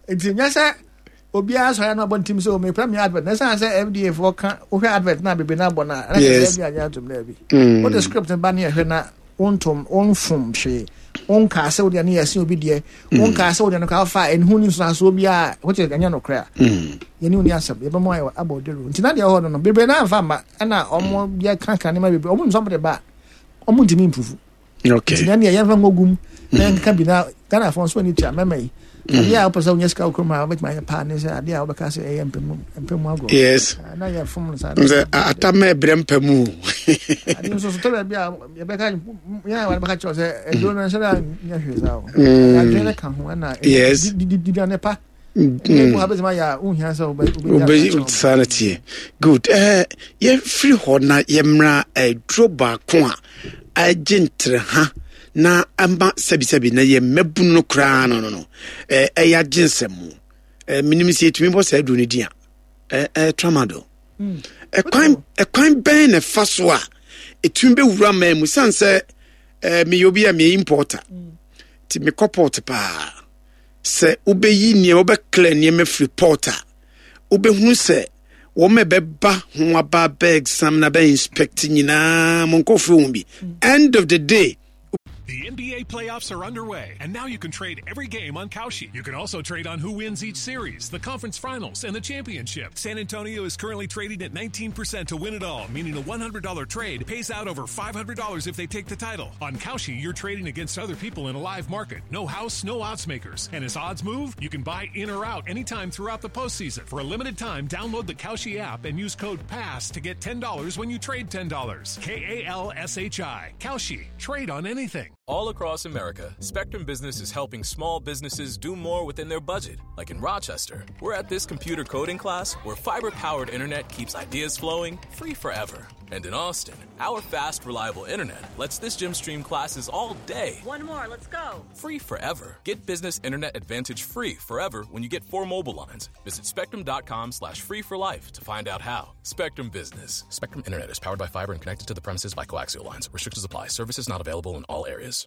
nti nyɛ sɛ obiara sɔrɔ no abɔ ntim sɛ omepɛ mi advert na ɛsan sɛ fda foɔ ka wohwɛ advert na bebree na abɔ no a ɛna sɛ fda agye atom dɛ bi mm. wode script ba ne ɛhwɛ na wontom wonfom hwee wonkaa sɛ wodeɛ no yɛ ɛsen obi deɛ mm. wonkaa sɛ wodeɛ no kaa fa ɛnhu ne nsunasoɔ biara wokyɛ ɛnyɛ nokorɛ a mm. yɛne wo ni asɛm yɛbɛma ayɛ abɔ dawuro nti na deɛ ɛwɔ hɔ no no bebree na amfa mma ɛna ɔmo yɛ kankan nneɛma bebree ɔmo nsɔm de ba ɔmo ntumi mpufu okay nti na deɛ yɛmfa ngogum na yɛnkeka bi na Ghanafoɔ nso ani tua mɛma yi mm. adeɛ a wopɛ sɛ wonya sika wɔ kurom a wobɛtumi ayɛ paa ne sɛ adeɛ a wobɛka sɛ ɛyɛ mpɛmu mpɛmu agorɔ yes ah, na yɛfom no saa sɛ ata ma ɛbrɛ mpɛmu adeɛ nso so tɔ baabi a yɛbɛka yɛn a wɔbɛka kyerɛ sɛ aduro no nhyɛ da nyɛ hwee saa o mm. adwene no ka ho ɛna yes diduane pa saa no teɛ good eh, yɛfiri hɔ na yɛmmra aduro eh, baako a agye ntere ha na ama sɛbisɛbi na yɛ mmabunu no koraa no no no eh, ɛyɛ agye nsɛm mu menim sɛ yɛtumi bɔ saa aduro no din a tramadol hmm. ɛkwan ɛkwan bɛn na ɛfa so a ɛtumi bɛwura man mu sane sɛ meyɛ obi a meyɛ importer hmm. nti mekɔ port paa Sɛ wobɛyi nneɛma, wobɛkla nneɛma firi port a, wobɛhunu sɛ wɔn a ɛbɛba ho aba bɛ exam na bɛ inspect nyinaa mo nkurɔfoɔ ho bi. End of the day, The NBA playoffs are underway, and now you can trade every game on Kalshi. You can also trade on who wins each series, the conference finals, and the championship. San Antonio is currently trading at 19% to win it all, meaning a $100 trade pays out over $500 if they take the title. On Kalshi, you're trading against other people in a live market. No house, no odds makers. And as odds move, you can buy in or out anytime throughout the postseason. For a limited time, download the Kalshi app and use code PASS to get $10 when you trade $10. K A L S H I. Kalshi. Trade on anything. All across America, Spectrum Business is helping small businesses do more within their budget. Like in Rochester, we're at this computer coding class where fiber powered internet keeps ideas flowing free forever. And in Austin, our fast, reliable internet lets this gym stream classes all day. One more, let's go. Free forever. Get business internet advantage free forever when you get four mobile lines. Visit spectrum.com slash free for life to find out how. Spectrum Business. Spectrum Internet is powered by fiber and connected to the premises by coaxial lines. Restrictions apply. Services not available in all areas.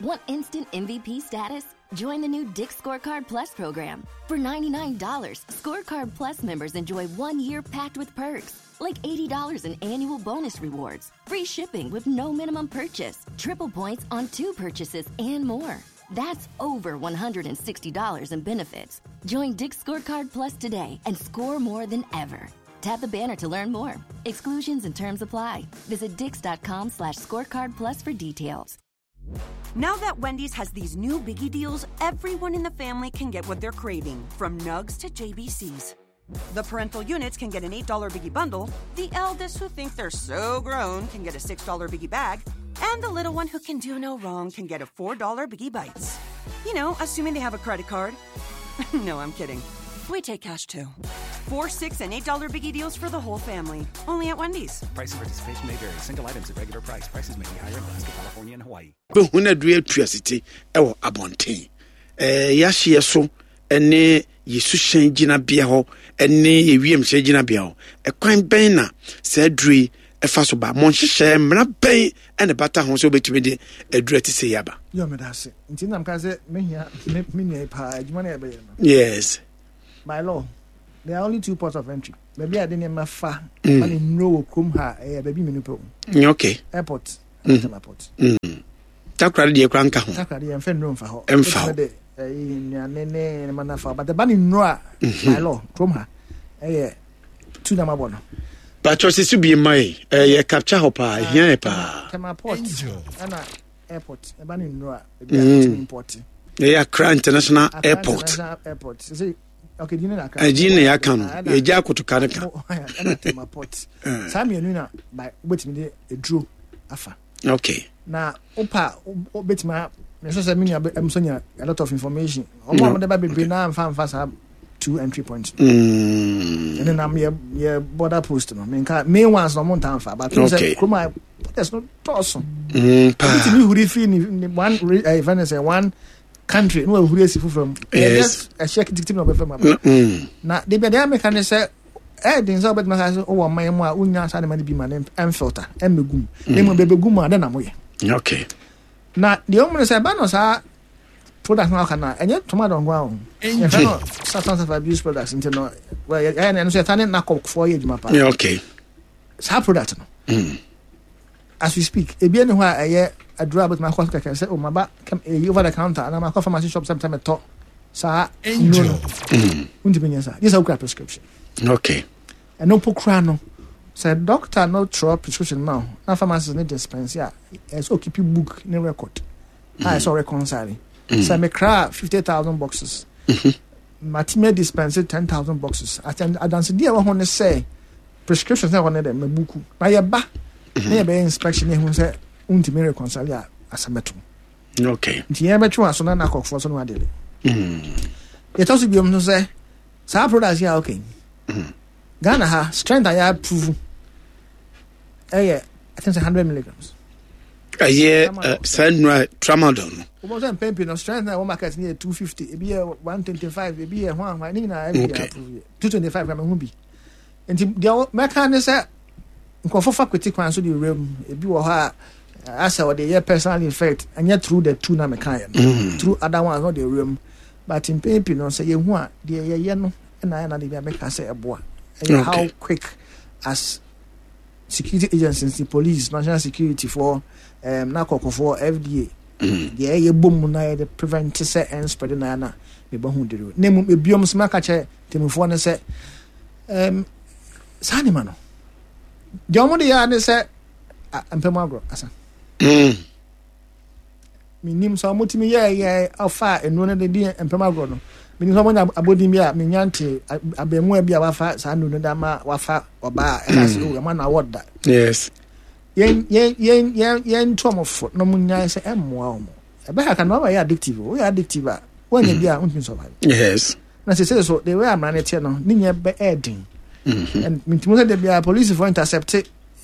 Want instant MVP status? Join the new Dick Scorecard Plus program. For $99, Scorecard Plus members enjoy one year packed with perks, like $80 in annual bonus rewards, free shipping with no minimum purchase, triple points on two purchases, and more. That's over $160 in benefits. Join Dick Scorecard Plus today and score more than ever. Tap the banner to learn more. Exclusions and terms apply. Visit dix.com slash scorecard plus for details. Now that Wendy's has these new biggie deals, everyone in the family can get what they're craving, from nugs to JBCs. The parental units can get an $8 biggie bundle, the eldest who think they're so grown can get a $6 biggie bag, and the little one who can do no wrong can get a $4 biggie bites. You know, assuming they have a credit card. no, I'm kidding. We take cash too. 4 $6 and $8 biggie deals for the whole family. Only at Wendy's. Price and participation may vary. Single items at regular price. Prices may be higher in Alaska, California, and Hawaii. bɛhu no aduru atu asete wɔ abɔnten ɛɛ yɛahyeɛ so ne yɛ suhyɛn gyinabea hɔ ne yɛ wiemhyɛn gyinabea hɔ ɛkwan bɛn na saa aduru yi ɛfa so ba mo nhyehyɛɛ mmara bɛn ɛna bata ho sɛ wobɛtumi de aduru ɛte sɛ yi aba. yɛ meda ase nti nam ka sɛ mehia me nua yi paa adwuma no yɛbɛyɛ no yes by law there are only two ports of entry. baabi a yɛde nneɛma fa ma ne nnuro wɔ kurom ha ɛyɛ baabi mmienu pɛ o. Okay. Airport. Tema port. Takoradi deɛ kora nka ho. Takoradi yɛn fɛ nnuro nfa hɔ. Ɛnfa hɔ. De ɛyi nnuane ne nneɛma nafa but ɛba ne nnuro a. By law kurom ha ɛyɛ tu na ma bɔ no. Bàtɔ sisi bi mma yi ɛyɛ capture hɔ paa ehia yɛ paa. Tema port ɛna airport ɛba ne nnuro a ebi a ɛtumi import. Ɛyɛ Accra International Airport. International Airport. Sisi okay di ne na aka. Ɛgye na yɛaka no yɛgye akotoka no ka. Ɛna Tema port. Saa mmienu na by wobɛtumi de eduro afa. Okay. Na wopa wobɛtumi a mesɛ sɛ me nua nso nya a lot of information. Ɔmo a wɔde ba bebree na nfa nfa saa two entry points. Ɛne nam yɛ yɛ border post no menka main ones na ɔmo nta nfa but okay. Sɛ kurom a borders no dɔɔso. Paa. Obi tumi huri firi ne one ɛɛ fɛn sɛ one country na wahuri esi foforɔ mu. Yes. Ɛhyɛ kitikiti na ɔbɛfɛ mu aba. Na de bia deɛ meka ne sɛ ɛyɛ den sɛ wobɛtumi aka sɛ wowɔ ɔman mu a wonya saa nneɛma no bi ma no ɛmfilter ɛmmɛgu mu. Na mmom bɛbɛgu mu a dɛn na moyɛ? Okay. Na deɛ ɔmu no sɛ ɛba no saa product no aka no a ɛnyɛ tomato nko ara o. Yɛfrɛ no substance of abuse products nti no ɛyɛ no ɛno nso yɛta ne nakɔfoɔ yɛ adwuma paa. Okay. Saa product no. As we speak, ebi ɛni hɔ a ɛyɛ aduro a bɛtumi akɔ so kɛkɛ sɛ o maba eyi over the counter anaa makɔ pharmacy shop sɛ metɔ saa nnuro no. Wontumi nyɛ saa. Gye sɛ wokura prescription. Okay. Ɛno mpo kura no sɛ doctor no twerɛ prescription ma wo na pharmacist no dispense a ɛsɛ sɛ okipi book ne record a ɛsɛ ɔreconcile. Sɛ mekra 50,000 boxes matumi dispense 10,000 boxes. Adansedie a ɛwɔ ho ne sɛ prescriptions na ɛwɔ ne dɛ mabuku na yɛba na yɛbɛyɛ inspection na ehu sɛ wontumi reconcile a asɛm bɛto. Okay. Nti yɛn bɛtwe wɔn aso na nakɔfoɔ so no adele. Yɛtɔ so biom nso sɛ saa products yi a okay. Ghana ha strength a yɛ approve ɛyɛ I think sɛ 100 milligrams. Ɛyɛ saa nnura tramadol no. Wọ́n sɛ mpɛn pii no strength na ɛwɔ market no yɛ 250 ebi yɛ 125 ebi yɛ hwan hwan ne nyinaa FDA approve yɛ 225 kora mehu bi. Nti deɛ mɛka ne sɛ nkurɔfo fa kwati kwan so de wura mu ebi wɔ hɔ a asɛ ɔde yɛ personal effect ɛnyɛ through the two na meka yɛ no mm. through other ones na ɔde wura mu but mpɛn pii no sɛ yɛhu a deɛ yɛyɛ no ɛna ayɛ na de bi a mɛka sɛ ɛboa ɛyɛ how quick as security agencies the police national security for um, na kɔkɔfoɔ fda mm. deɛ ɛyɛ bɔ mu na yɛde prevent sɛ ɛnspread na na mebɔ ho dero na mmom ebiom nso maka kyerɛ Temmufoɔ no sɛ, um, saa nneɛma no, deɛ wɔn de yɛ ne sɛ mpɛ mu agorɔ asa. Menim sɛ wɔtumi yɛɛyɛ ɔfa nnuro no de di mpɛ mu agorɔ no. Menim sɛ wɔnya abɔdin bi a menya nte abɛɛmua bi a wafa saa nnuro no de ama wafa ɔbaa a ɛka sɛ oh, ɛma no awɔ da. Yes. Yɛn yɛn yɛn yɛn yɛn nto wɔn fo na wɔn nyae sɛ ɛmmoa wɔn. Ɛbɛha ka na wɔn yɛ addictive. Woyɛ addictive a wɔnyɛ bi a wontumi survive. Yes. Na sese so the way amara no teɛ no ne nyɛ bɛ ɛyɛ den. Mm-hmm. And mintimi sɛ de bia police for intercept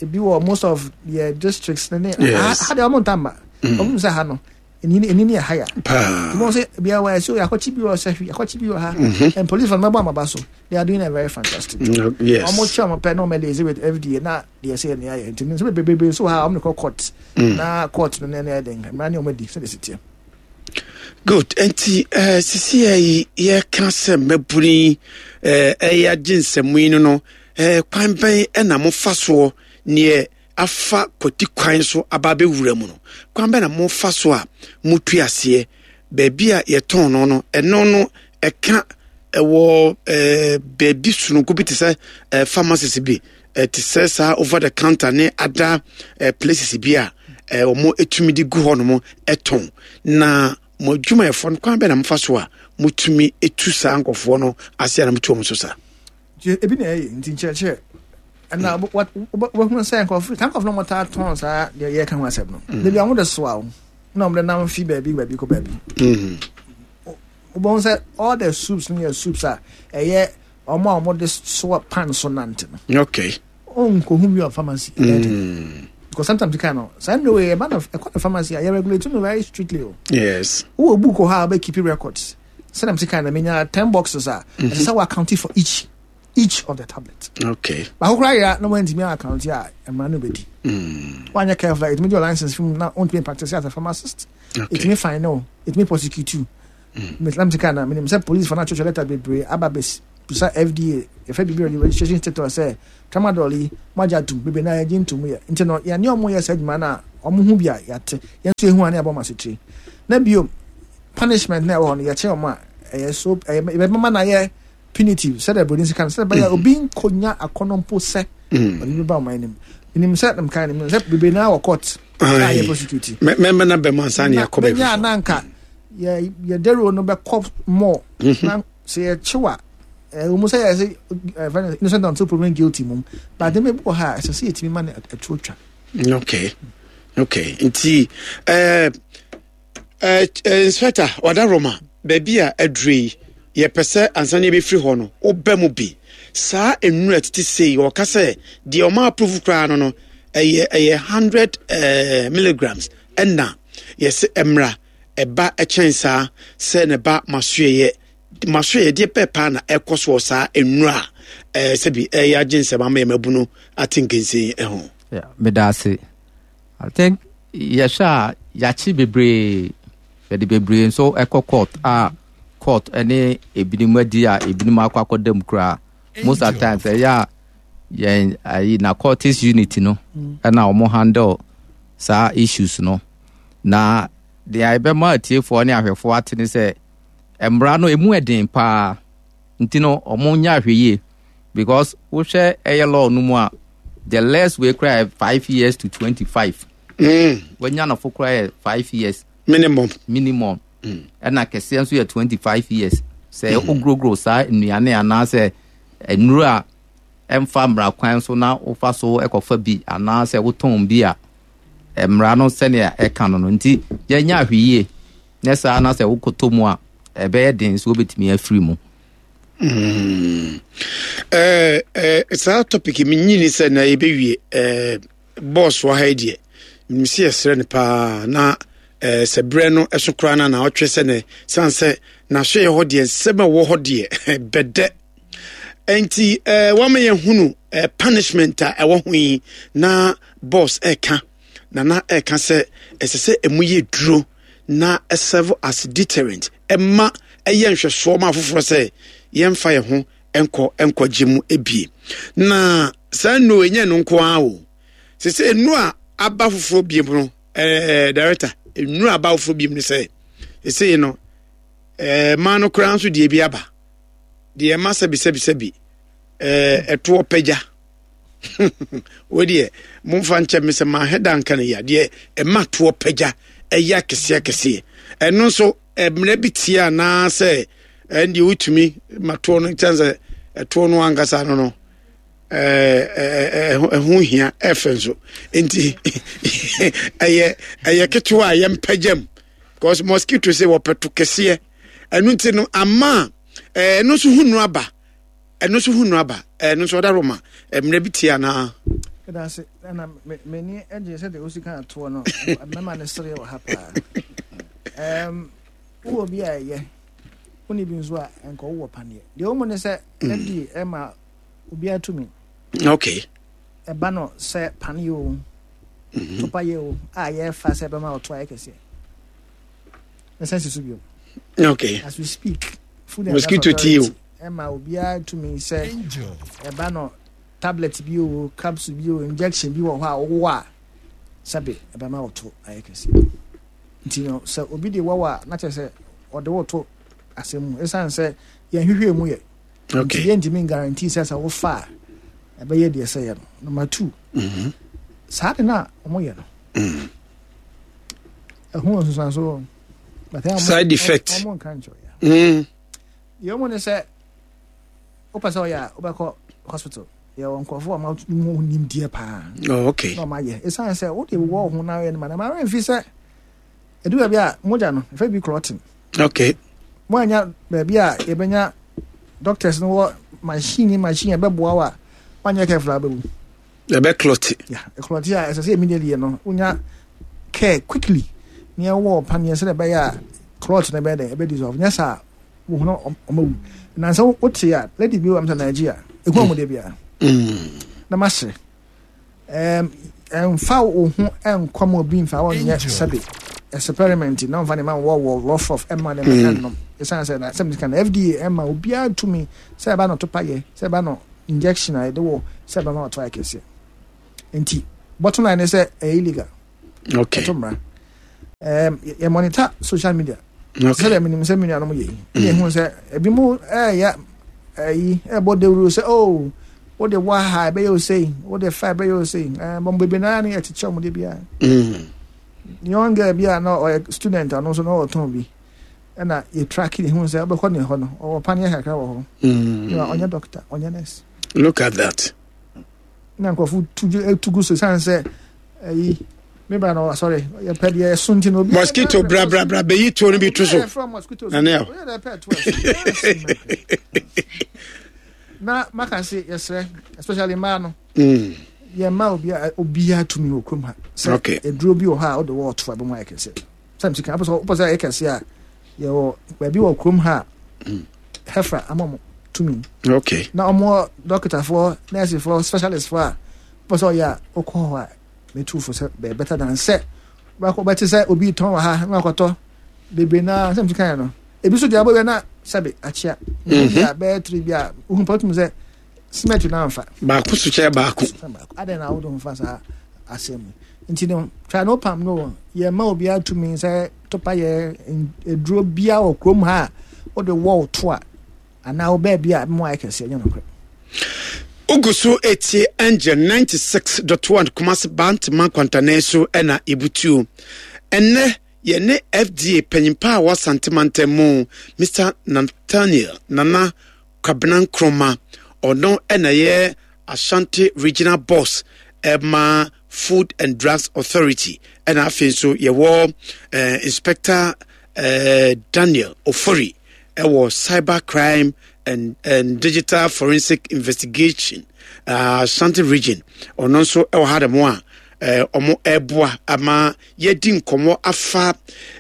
ebi wɔ most of the districts ne ne ha de ɔmo nta mma. Mm. Ɔmo sɛ ha no eni eni ne yɛ ha ya. Paa. Ɔmo sɛ bia wɔ ɛso akɔkye bi wɔ sɛ hwi akɔkye bi wɔ ha. Mm-hmm. And police for no mɛbɔ amaba so they are doing a very fantastic job. Yes. Ɔmo kyɛ ɔmo pɛ na ɔmo liaise with FDA na deɛ ɛsɛ yɛ ne ayɛ nti nso bebrebe nso wɔ ha ɔmo de kɔ court. Mm. Na court no ne ne yɛ den mmara ne ɔmo adi sɛ de si teɛ. Good. Nti eh, sisi yɛ yi yɛka sɛ mmabunu yi eh, ɛyɛ agye nsɛm yi no no eh, kwan bɛn ɛna mofa soɔ neɛ afa kwati kwan so aba abɛwura mu no kwan bɛn na mofa so a motu aseɛ baabi a yɛtɔn no no ɛno no ɛka ɛwɔ eh, baabi sononko bi te sɛ eh, pharmacies bi eh, te sɛ saa over the counter ne other eh, places bi a eh, wɔn tumi de gu hɔ nom tɔn na mo adwumayɛfoɔ no kwan bɛn na mofa so a motumi tu saa nkɔfoɔ no ase a na motu wɔn so saa. Ebi na ɛyɛ nti nkyerɛkyerɛ ɛna wobɛhunu sɛ nkurɔfo saa nkurɔfo no wɔtaa tɔn saa deɛ yɛka ho asɛm no mm. dabi a wɔde soa wo na wɔde nam fi baabi baabi kɔ baabi mm. wobɛhu sɛ all the soups no yɛ soups a ɛyɛ wɔn a wɔde soa pan so nante no. Okay. Onkohu bi wɔ pharmacy. Mm. Because sometimes you can no. Saa no way ɛba no ɛkɔ no pharmacy a yɛ regulate no very strictly o. Yes. Wowɔ book wɔ hɔ a wobɛ keep records. Sɛdeɛ msi kan na menya 10 boxes a ɛsɛ sɛ wɔ account for each of the tablet. Okay. Baako koraa yera na wɔntumi account a mmara no bɛdi. Mm. Wanyɛ careful a ɛtumi gye license fi mu na wontumi practice as a pharmacist. Okay. Ɛtumi fine no, ɛtumi prosecute you. Mm. Meslam sika na menim sɛ police fo no atwetwe letter bebree aba bɛsi. Bisa FDA, yɛfrɛ biribi registration status sɛ tramadol yi moagye atom, bebree no ara yɛgye ntom yɛ. Nti no yɛne wɔn yɛ saa adwuma no a, wɔn ho bi a yɛate, yɛn nso yɛhu a na yɛabɔ wɔn asotire. Na bio, punishment na ɛwɔ hɔ no, yɛkyɛ wɔn a, ɛyɛ so, ɛyɛ yɛbɛma no ayɛ punitive, sɛdeɛ buroni sika no, sɛdeɛ ɛbɛyɛ obi nkɔnya akɔnnɔ mpo sɛ ɔde bi ba wɔn anim. Menim sɛ, mekae no, menim sɛ bebree no ara wɔ court a yɛ prosecute. Mɛmɛ na bɛma ansa ne yɛakɔ baabi. Mɛnya a na anka yɛ yɛ dawuro no bɛkɔ more. Na sɛ yɛkyew a ɛwɔ mu sɛ yɛ sɛ ɛfɛ innocent until proven guilty mum but nneɛma bi wɔ ha a ɛsɛ sɛ yɛtumi ma no ɛtuo twa. Okay okay nti ɛɛ ɛɛ inspector Wadaroma baabi a aduro yi yɛpɛ sɛ ansa na yɛbɛfiri hɔ no wobɛ mu bi saa nnuro a tete sei wɔka sɛ deɛ ɔma approve koraa no no ɛyɛ ɛyɛ 100 ɛɛ milligrams ɛna yɛsɛ ɛmra ɛba kyɛn saa sɛ ne ba masoɛyɛ masoɛyɛ deɛ pɛ paa na ɛkɔ soɔ saa nnura a ɛɛ sɛbi ɛyɛ agye nsɛm ama yɛn mabunu ate nkensen ɛho. Meda ase. I think yɛhwɛ a yɛakye bebree yɛde bebree nso ɛkɔ court a court ɛne ebinom adi a ebinom akɔ akɔda mu koraa most of times ɛyɛ a yɛn ayi narcotics unit no ɛna wɔn handle saa issues no. Na deɛ ɛbɛma atiefoɔ ne ahwɛfoɔ ate ne sɛ mmara no emu ɛden paa nti no wɔn nyɛ ahwɛ yie because wohwɛ ɛyɛ law no mu a the less wei koraa yɛ 5 years to 25. Wanya no fo koraa yɛ 5 years. Minimum. Minimum. Ɛna kɛseɛ nso yɛ 25 years. Sɛ woguroguro saa nnuane anaasɛ nnuro a ɛmfa mmara kwan so na wofa so ɛkɔfa bi anaasɛ wotɔn bi a mmara no sɛnea ɛka no no nti yɛnyɛ ahwɛ yie nyɛ saa na sɛ wokɔtɔ mu a ɛbɛyɛ den so wobɛtumi afiri mu. Saa topic menyini sɛ na yɛbɛwie boss wɔ ha yi deɛ menim sɛ yɛsrɛ no paa na sɛ berɛ no ɛso koraa no na ɔtwe sɛ ne sane sɛ n'asoɛyɛ hɔ deɛ nsɛm a ɛwɔ hɔ deɛ bɛdɛ nti wama yɛhunu punishment a ɛwɔ ho yi na boss ɛka na na ɛka sɛ ɛsɛ sɛ ɛmu yɛ duro na serve as deterrent ɛma ɛyɛ nhwɛsoɔ ma afoforɔ sɛ yɛmfa yɛn ho nkɔ nkɔgye mu ebie na saa nnuro ɛnyɛ no nko ara o sɛ sɛ nnuro a aba foforɔ bie mu no director nnuro aba foforɔ bie mu no sɛ ɛsɛ no mmaa no koraa nso deɛ bi aba deɛ ɛma sɛbi sɛbi sɛbi ɛtoɔ pagya wei deɛ momfa nkyɛ me sɛ mahɛ da nka no yia deɛ ɛma toɔ pagya ɛyɛ akɛseɛ akɛseɛ ɛno nso mmerɛ bi tie anaasɛ ɛndeɛ wotumi ma toɔ no kyɛn sɛ ɛtoɔ no ankasa no no ɛho hia ɛfɛ nso nti ɛyɛ ɛyɛ ketewa a yɛmpagya mu because mosquito sɛ wɔpɛ to kɛseɛ ɛno nti no ama ɛno nso ho nnuro aba ɛno nso ho nnuro aba ɛno nso ɔda roma mmerɛ bi tie anaa. Ɛda ase ɛna m'ani gye sɛdeɛ wosi kan atoɔ no mɛma no sere wɔ ha paa wowɔ bi a ɛyɛ wone bi nso a ɛnkɔ wowɔ paneɛ deɛ wo mu ne sɛ FDA ɛma obiara tumi okay ɛba no sɛ paneɛ o topa yɛ o a yɛfa sɛ ɛbɛma ɔto ayɛ kɛseɛ ɛsɛ si so bio. Okay. As we speak, Food and Mosquito Drug tea o. Authority ɛma obiara tumi sɛ ɛba no tablet bi o, capsule bi o, injection bi wɔ hɔ a wowɔ a sɛbe ɛbɛma ɔto ayɛ kɛse. Nti no sɛ obi de wɔwɔ a na kyerɛ sɛ ɔde wo to asɛm mu ɛsiane sɛ yɛnhwehwɛ mu yɛ. Okay. Nti yɛntumi guarantee sɛ sɛ wofa a ɛbɛyɛ deɛ sɛ yɛ no. Number 2. Saa de no a wɔyɛ no. Ɛho nsusuanso side effect. Ɔmo nka nkyɛw ya. Deɛ ɔmo ne sɛ wopɛ sɛ ɔyɛ a wobɛkɔ hospital yɛwɔ nkurɔfoɔ a ɔmo nimdeɛ paa. Oh, okay. Na ɔmo ayɛ ɛsiane sɛ wode wɔ wo ho na ayɛ no ma na ma remfi sɛ ɛdu baabi a mogya no ɛfɛ bi clotting. Okay. Mo anya baabi a yɛbɛnya doctors no wɔ machine machine ɛbɛboa wo a wanyɛ careful a wobɛwu. Ɛbɛ clot. Yeah, clot a ɛsɛ sɛ immediately no wonya care quickly ne ɛwɔ paneɛ sɛ ɛbɛyɛ a clot no ɛbɛyɛ dɛ ɛbɛ dissolve nyɛ saa wo ho ɔma wu na sɛ wote a lady bi wɔ m sɛ Nigeria ɛhu ɔmo de bia na masere ɛmfa wo ho ɛnkɔ ma obi mfa wɔnyɛ sɛbe. experiment na ɔmfa ne ma wɔ wɔ rough rough ɛma ne ma ɛnnom. Ɛsiane sɛ na sɛ meka no FDA ɛma obiara tumi sɛ ɛba no topa yɛ, sɛ ɛba no injection a yɛde wɔ, sɛ ɛbɛma ɔto ayɛ kɛseɛ. Nti bottom line ne sɛ ɛyɛ illegal. Okay. Ɛto mmara. Um, yɛ monitor social media. Okay. Sɛdeɛ menim sɛ me nuanom yɛ yi. Ɛna ehu sɛ ebi mu ɛyɛ ɛyi ɛbɔ dawuro sɛ oh wode wɔ ha ɛbɛyɛ o sei wode fa ɛbɛyɛ o sei ɛɛ bɔn bebree naa ne yɛkyekyɛ wɔn de biara. Young girl bi a na ɔyɛ student ɔno nso na ɔtɔn bi ɛna yɛ track ne hu sɛ ɔbɛkɔ ne hɔ no ɔwɔ paneɛ kakra wɔ hɔ. Ɔnyɛ doctor ɔnyɛ nurse. Look at that. Na nkurɔfo tu tu gu so san sɛ ɛyi me bra na asɔre yɛpɛ deɛ ɛso nti na obi mosquito bra bra bra bɛyi tuo no bi to so na ne na maka se yɛsrɛ especially mmaa no yɛma obi obiara tumi wɔ kurom ha sɛ aduro bi wɔ hɔ a wode wɔ ɔto a bɛmu ayɛ kɛseɛ sɛ msika wopɛ sɛ ɛyɛ kɛseɛ a yɛwɔ baabi wɔ kurom ha a hefra ama mo tumi okay na ɔmo dɔktafoɔ nɛɛsefoɔ specialistfoɔ a wopɛ sɛ ɔyɛ a wokɔ hɔ a metu fo sɛ bɛyɛ better than sɛ wobɛkɔ bɛte sɛ obi tɔn wɔ ha na wakɔtɔ bebree naa sɛ msika yɛ no ebi so deɛ abɔwia na sɛbe akyea bi a bɛyɛ tiri bi a wohu pɛ wotum sɛ cement no amfa baako so kyɛ baako adɛn na wode ho fa saa asɛm yi nti no twa no pam no yɛma obiara tumi sɛ topa yɛ aduro bia wɔ kurom ha a wode wɔ to a anaa wo baabi a mu ayɛ kɛseɛ nyɛ nokorɛ. Wogu so etie Angel 96.1 Kumasi Bantama Kwantanan so na ebutuo. Ɛnnɛ yɛne FDA panyimpa a wɔ Asante mantam mu, Mr. Nathaniel Nana Kwabena Nkrumah, ɔno na ɛyɛ Ashanti Regional Boss ɛma Food and Drugs Authority, ɛna afei nso yɛwɔ eh, Inspector eh, Daniel Ofori ɛwɔ Cyber Crime and, and Digital Forensic Investigation uh, Ashanti Region, ɔno nso ɛwɔ ha dɛm a wɔn ɛreboa ama yɛadi nkɔmmɔ afa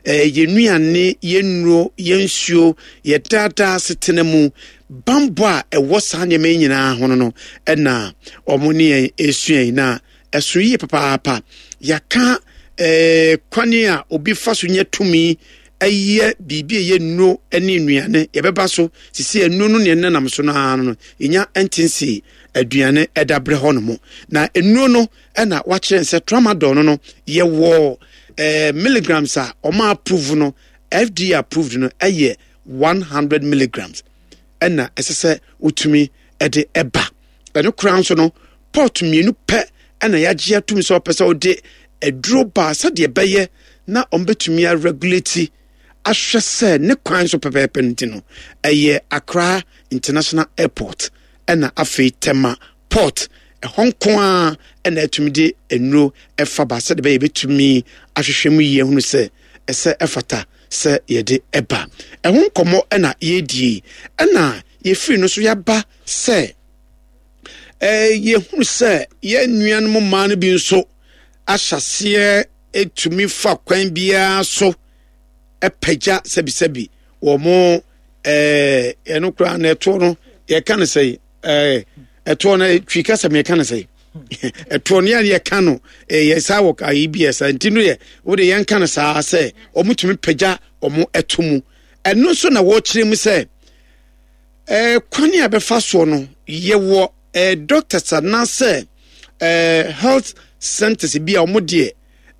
yɛn nnuane, yɛn nnuro, yɛn nsuo, yɛn daadaa asetena mu bammɔ a ɛwɔ saa nneɛma yi nyinaa ho no no ɛna wɔn ne yɛn ɛresua yi na ɛso yie papaapa. Yɛaka ɛɛ kwan a obi fa so nya tumi ɛyɛ biribi a ɛyɛ nnuro ne nnuane yɛbɛba so sisi nnuro no nea ɛnenam so no ara no yɛnya ntense aduane ɛda berɛ hɔ nom na nnuro no ɛna wakyerɛ sɛ tramadol no no yɛwɔ eh, milligrams a wɔn approve no FDA approved no ɛyɛ 100 milligrams ɛna ɛsɛ sɛ wotumi ɛde ɛba ɛno koraa nso no port mmienu pɛ ɛna yɛagye atum sɛ ɔpɛ sɛ ɔde aduro baa sɛdeɛ ɛbɛyɛ na wɔbɛtumi aregulate ahwɛ sɛ ne kwan so pɛpɛɛpɛ no ti no ɛyɛ Accra International Airport ɛna afei Tema Port, ɛhɔ nko ara na atumi de nnuro ɛfa ba sɛdeɛ ɛbɛyɛ yɛbɛtumi ahwehwɛ mu yie ahunu sɛ ɛsɛ ɛfata sɛ yɛde ɛba. Ɛho nkɔmmɔ ɛna yɛredie ɛna yɛfiri no so yɛaba sɛ ɛɛ yɛhunu sɛ yɛn nuanom mmaa no bi nso ahyɛseɛ ɛtumi fa kwan biara so ɛpagya sɛbisɛbi wɔn ɛɛ ɛno koraa na ɛtoɔ no yɛka no sɛ ɛɛ ɛtoɔ no twi kasa mi yɛka no sɛ ɛtoɔ no yɛn yɛka no ɛyɛ saa wɔ ayi bi yɛ saa nti no yɛ wɔde yɛn ka no saa sɛ wɔn tumi pagya wɔn ɛto mu ɛno nso na wɔrekyerɛ mu sɛ ɛɛ kwan a bɛfa soɔ no yɛwɔ ɛɛ doctors anaasɛ ɛɛ health centers bi a wɔn deɛ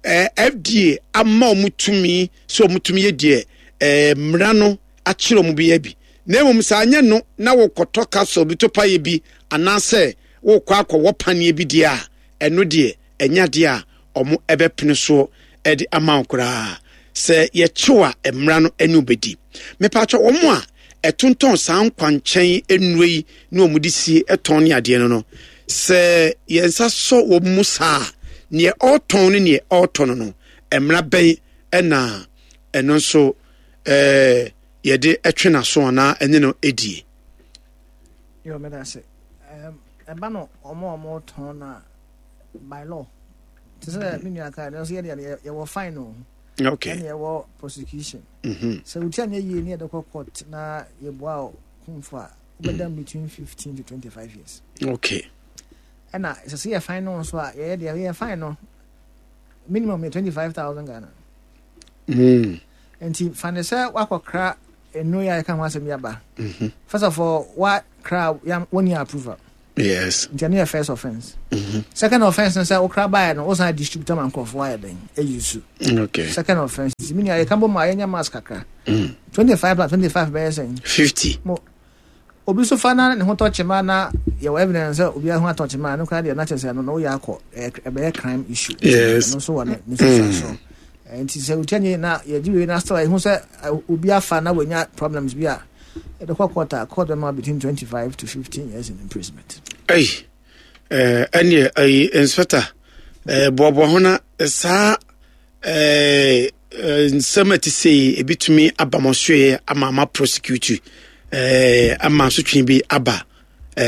ɛɛ FDA ama wɔn tumi sɛ wɔn tumi yɛ deɛ ɛɛ mmara no akyerɛ wɔn bia bi, na mmom sɛ anyɛ no na wokɔtɔ capsule bi to paeɛ bi anaasɛ wokɔ akɔwɔ paneɛ bi deɛ a, ɛno deɛ ɛnyɛ adeɛ a wɔn ɛbɛpene soɔ de ama wo koraa. Sɛ yɛkyew a mmara no ɛne wobɛdi. Mepatwɔ wɔn a ɛtontɔn saa nkwankyɛn nnuro yi ne wɔn de sie ɛtɔn ne adeɛ no no, sɛ yɛn nsa sɔ wɔn mu saa a, neɛ ɔretɔn ne neɛ ɔretɔ no no, mmara bɛn ɛna ɛno nso ɛɛ yɛde twe n'aso anaa ɛne no die. Yɛ ɔmɛda ase. Ɛba no ɔmo a ɔmo tɔn na by law. Te sɛ me nua kaa no nso yɛ yɛwɔ fine o. Okay. Ɛna yɛwɔ prosecution. Mm-hmm. Sɛ wotia nyɛ yie ne yɛde kɔ court na yɛboa wo kumfo a wobɛda mm. between 15 to 25 years. Okay. Ɛna sɛ sɛ yɛ fine no nso a yɛyɛ deɛ yɛ fine no minimum yɛ 25,000 Ghana. Nti fa ne sɛ wakɔkra nnuro yi a yɛka ho asɛm yi aba. First of all, wakra wɔnni approval. Yes. Nti ɛno yɛ first offence. Second offence no sɛ wokra baeɛ no wosan distribute ama nkurɔfoɔ ayɛ dɛn ayi su. Okay. Second offence. Nti me nua yɛka bɔ mu a yɛnyɛ mask kakra. 25 plus 25 bɛyɛ sɛn? 50. Mo obi so fa na ne ho tɔ kyema na yɛwɔ evidence sɛ obi ho atɔ kyema no koraa deɛ na kyerɛ sɛ ɛno no woyɛ akɔ ɛbɛyɛ crime issue. Yes. Ɛno nso wɔ ne ne nsusuansoɔ. Nti sɛ wotia nye na yɛgye wei na still ɛho sɛ obi afa na wanya problems bi a yɛde kɔ court a court bɛma between 25 to 15 years in imprisonment. Ɛyi ɛneɛ ɛyi inspector boaboa ho na saa nsɛm a ɛte sɛ yi ebitumi aba mo soɛ ama ama prosecute ama asotwe bi aba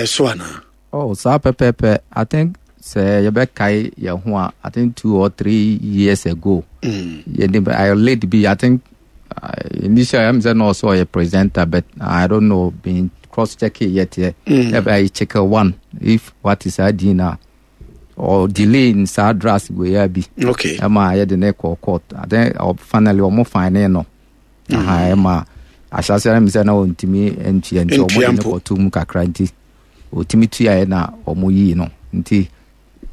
so anaa. Oh, saa pɛpɛɛpɛ. I think sɛ yɛbɛkae yɛn ho a, I think 2 or 3 years ago. Yɛde I late bi, I think initially I'm sɛ na ɔsɛ ɔyɛ presenter, but I don't know, been cross check it yet. Yeah. I check one if what is saa din na or delay in saa drugs wei a bi. Ɛma yɛde ne kɔ court. I think finally ɔmo fine no. Aha, ɛma ahyɛaseɛ no mi sɛ na ɔntumi ntua nti ɔmo de ne kɔto mu kakra nti ɔtumi tuaeɛ na ɔmo yii no nti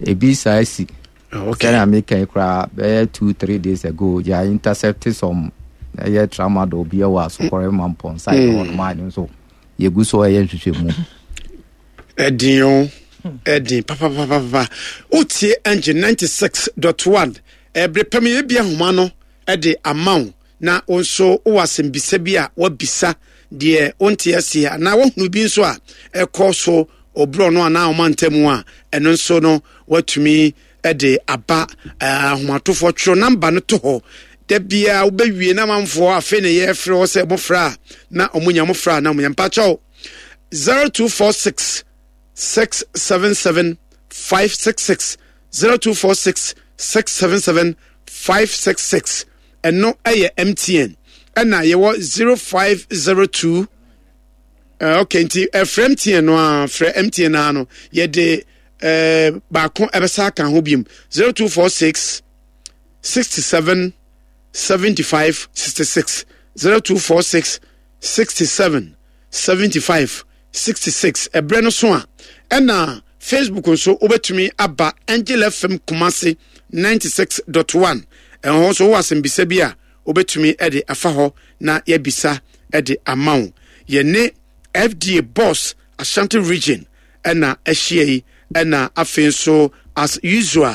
ebi saa si. Sɛnea meka yi koraa bɛyɛ 2-3 days ago yɛ intercept some ɛyɛ tramadol bi ɛwɔ Asokɔrɛ Mampɔn side hɔ nom a ɛno nso yɛgu so ɛyɛ nhwehwɛmu. Ɛdin o, ɛdin papapapapa. Wotie Engine 96.1 ɛbere pɛm yɛbi ahoma no ɛde ama wo na wo nso wowɔ asɛmbisa bi a wabisa deɛ wonte aseɛ anaa woahunu bi nso a ɛkɔ so ɔborɔ no anaa ɔma ntamu a ɛno nso no watumi de aba. Ahomatofoɔ twerɛ namba no to hɔ da biara wobɛwie na amanfoɔ afei na yɛfrɛ hɔ sɛ mofrɛ a na ɔmo nya mofrɛ a na ɔmo nya. Mpakyɛw, 0246 677 566, 0246 677 566, ɛno ɛyɛ MTN. Ɛna yɛwɔ 0502. Ok, nti ɛfrɛ MTN no a, frɛ MTN a no yɛde baako ɛbɛsa aka ho biom, 0246 67 75 66, 0246 67 75 66. Ɛberɛ no so a ɛna Facebook nso wobɛtumi aba Angel FM Kumase 96.1. Ɛhɔ nso wowɔ asɛmbisa bi a wobɛtumi de afa hɔ na yɛabisa de ama wo. Yɛne FDA boss Ashanti Region ɛna ahyia yi, ɛna afei nso as usual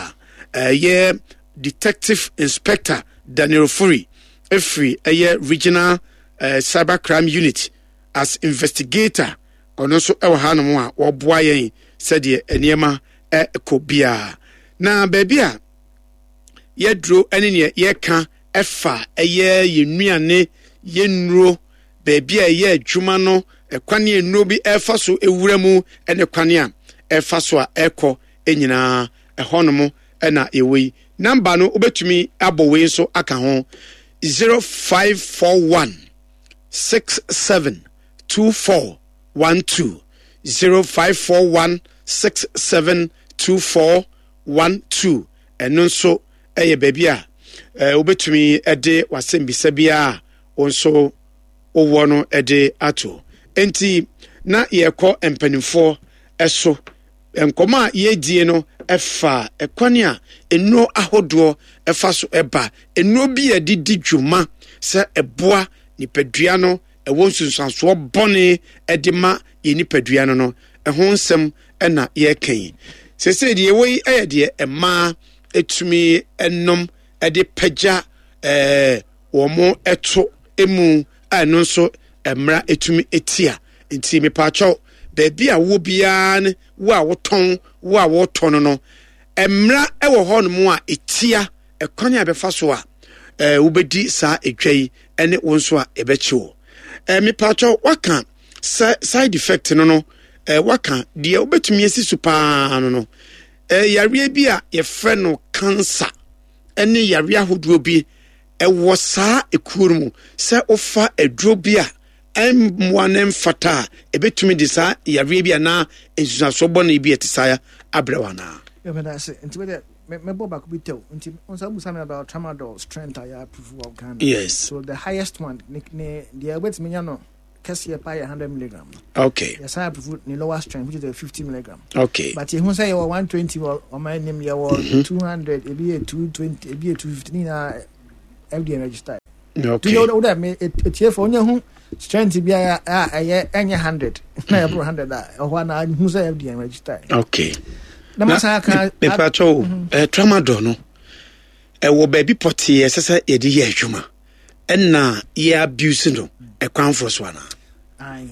ɛyɛ Detective Inspector Daniel Furi ɛfiri ɛyɛ Regional Cyber Crime Unit as investigator. Ɔno nso ɛwɔ hanom a wɔboa yɛn sɛdeɛ nneɛma ɛkɔ biara na baabi a yɛduro ne neɛ yɛka ɛfa ɛyɛ yɛn nnuane, yɛn nnuro, baabi a ɛyɛ adwuma no, ɛkwan a nnuro bi ɛfa so ewura mu ne kwan a ɛfa so a ɛkɔ nyinaa ɛhɔnom ɛna yɛwɔ yi. Namba no wobɛtumi abɔ wei nso aka ho, 0541 67 2412, 0541 67 2412. Ɛno nso ɛyɛ baabi a wobɛtumi de w'asɛmbisa biara a wo nso wowɔ no de ato. Enti na yɛkɔ mpanimfoɔ ɛso nkɔmɔ a yɛdie no ɛfa ɛkwan a nnuro ahodoɔ ɛfa so ɛba, nnuro bi a yɛde di dwuma sɛ ɛboa nipadua no ɛwɔ nsunsuansoɔ bɔne ɛde ma yɛ nipadua no ɛho nsɛm ɛna yɛreka yi. Sɛsɛ deɛ ɛwɔ yi ɛyɛ deɛ mmaa ɛtumi ɛnom ɛde pagya wɔn ɛto emu a ɛno nso mmara ɛtumi ɛtia. Nti mepaakyɛw, baabi a wowɔ biara ne wo a wotɔn, wo a wɔtɔ no, mmara ɛwɔ hɔnom a ɛtia ɛkwan a ɛbɛfa so a wobɛdi saa edwa yi ɛne wo nso a ɛbɛkye wo. Mepaakyɛw, waka sɛ side effect no waka deɛ wobɛtumi asi so paa no yareɛ bi a yɛfrɛ no cancer ɛne yareɛ ahodoɔ bi ɛwɔ saa ekuo no mu sɛ wofa aduro bi a ɛmmoa ne mfata a ɛbɛtumi de saa yareɛ bi anaa nsusuasoɔ bɔne bi a ɛte saa abrɛ wo anaa? Yɛmɛda ase. Nti wede mɛbɔ baako bi tɛw nti nsa busa mi about tramadol strength a yɛ approve wɔ Ghana. Yes. So the highest one ne deɛ wobɛtumi nya no kɛseɛ paa yɛ 100 milligram. Yɛsan approve ne lower strength, which is the 50 milligram. But yɛhu sɛ yɛwɔ 120 wɔ ɔman anim, yɛwɔ 200, ebi yɛ 220, ebi yɛ 250, ne nyinaa FDA register. Nti wo dɛ me etiefo onye hu strength bi a ɛyɛ ɛnyɛ 100 na ɛboro 100 a ɛhɔ ana hu sɛ FDA register. Na ma san aka. Mepatɔ o, tramadol no ɛwɔ baabi pɔtee ɛsɛ sɛ yɛde yɛ adwuma ɛna yɛ abuse no ɛkwan forɔ so anaa? Ayi.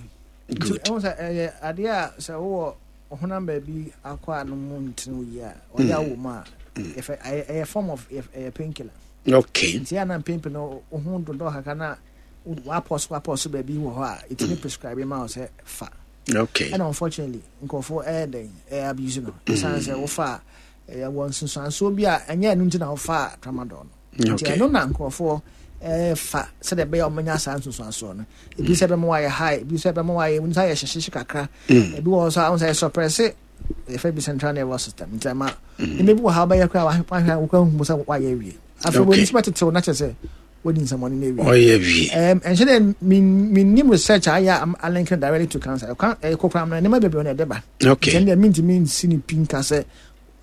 Good. Ɛhu sɛ ɛyɛ adeɛ a sɛ wowɔ ɔhonam baabi akɔ a no mu ntene wo yie a ɔyɛ awɔ mu a yɛfɛ ɛyɛ form of ɛyɛ painkiller. Nti yɛ ana mpempe no wo ho dodɔ kakra na wapɔ so baabi wɔ hɔ a ɛtumi prescribe ma wo sɛ fa. Ɛna unfortunately nkurɔfoɔ ɛyɛ dɛn ɛyɛ abuse no, ɛsiane sɛ wofa a ɛyɛ wɔ nsunsuansoɔ bi a ɛnyɛ ɛno nti na wofa tramadol no. Nti ɛno na nkurɔfoɔ ɛfa sɛdeɛ ɛbɛyɛ a ɔmanya saa nsunsuansoɔ no, ebi sɛ ɛbɛma wayɛ high, ebi sɛ ɛbɛma wayɛ nsa yɛ hyehyehye kakra, ebi wɔ hɔ nso a wɔn sɛ suppress yɛfɛ bi central nervous system, nti ɛma nneɛma bi wɔ ha wobɛyɛ koraa wahwɛ a wokɔ ahu sɛ wayɛ awie. Afei wɔn nso bɛtetew na kyerɛ sɛ wɔdi nsɛmɔne no awie. Ɔyɛ wie. Ɛnhyɛ dɛ mennim research a ayɛ a link no directly to cancer. Ɛkwan ɛyɛ kokoram no, nneɛma bebree na ɛde ba. Nti ɛno deɛ mentumi nsi ne pi nka sɛ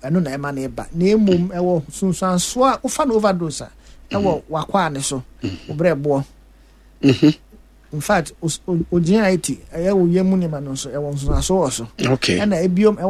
ɛno na ɛma no ba, na mmom ɛwɔ sunsuansoɔ a wofa no overdose a ɛwɔ wakwaa ne so, wo berɛ boɔ. In fact, o GIT ɛyɛ wo yam nneɛma no nso ɛwɔ nsunsuansoɔ wɔ so. Ɛna ebiom ɛwɔ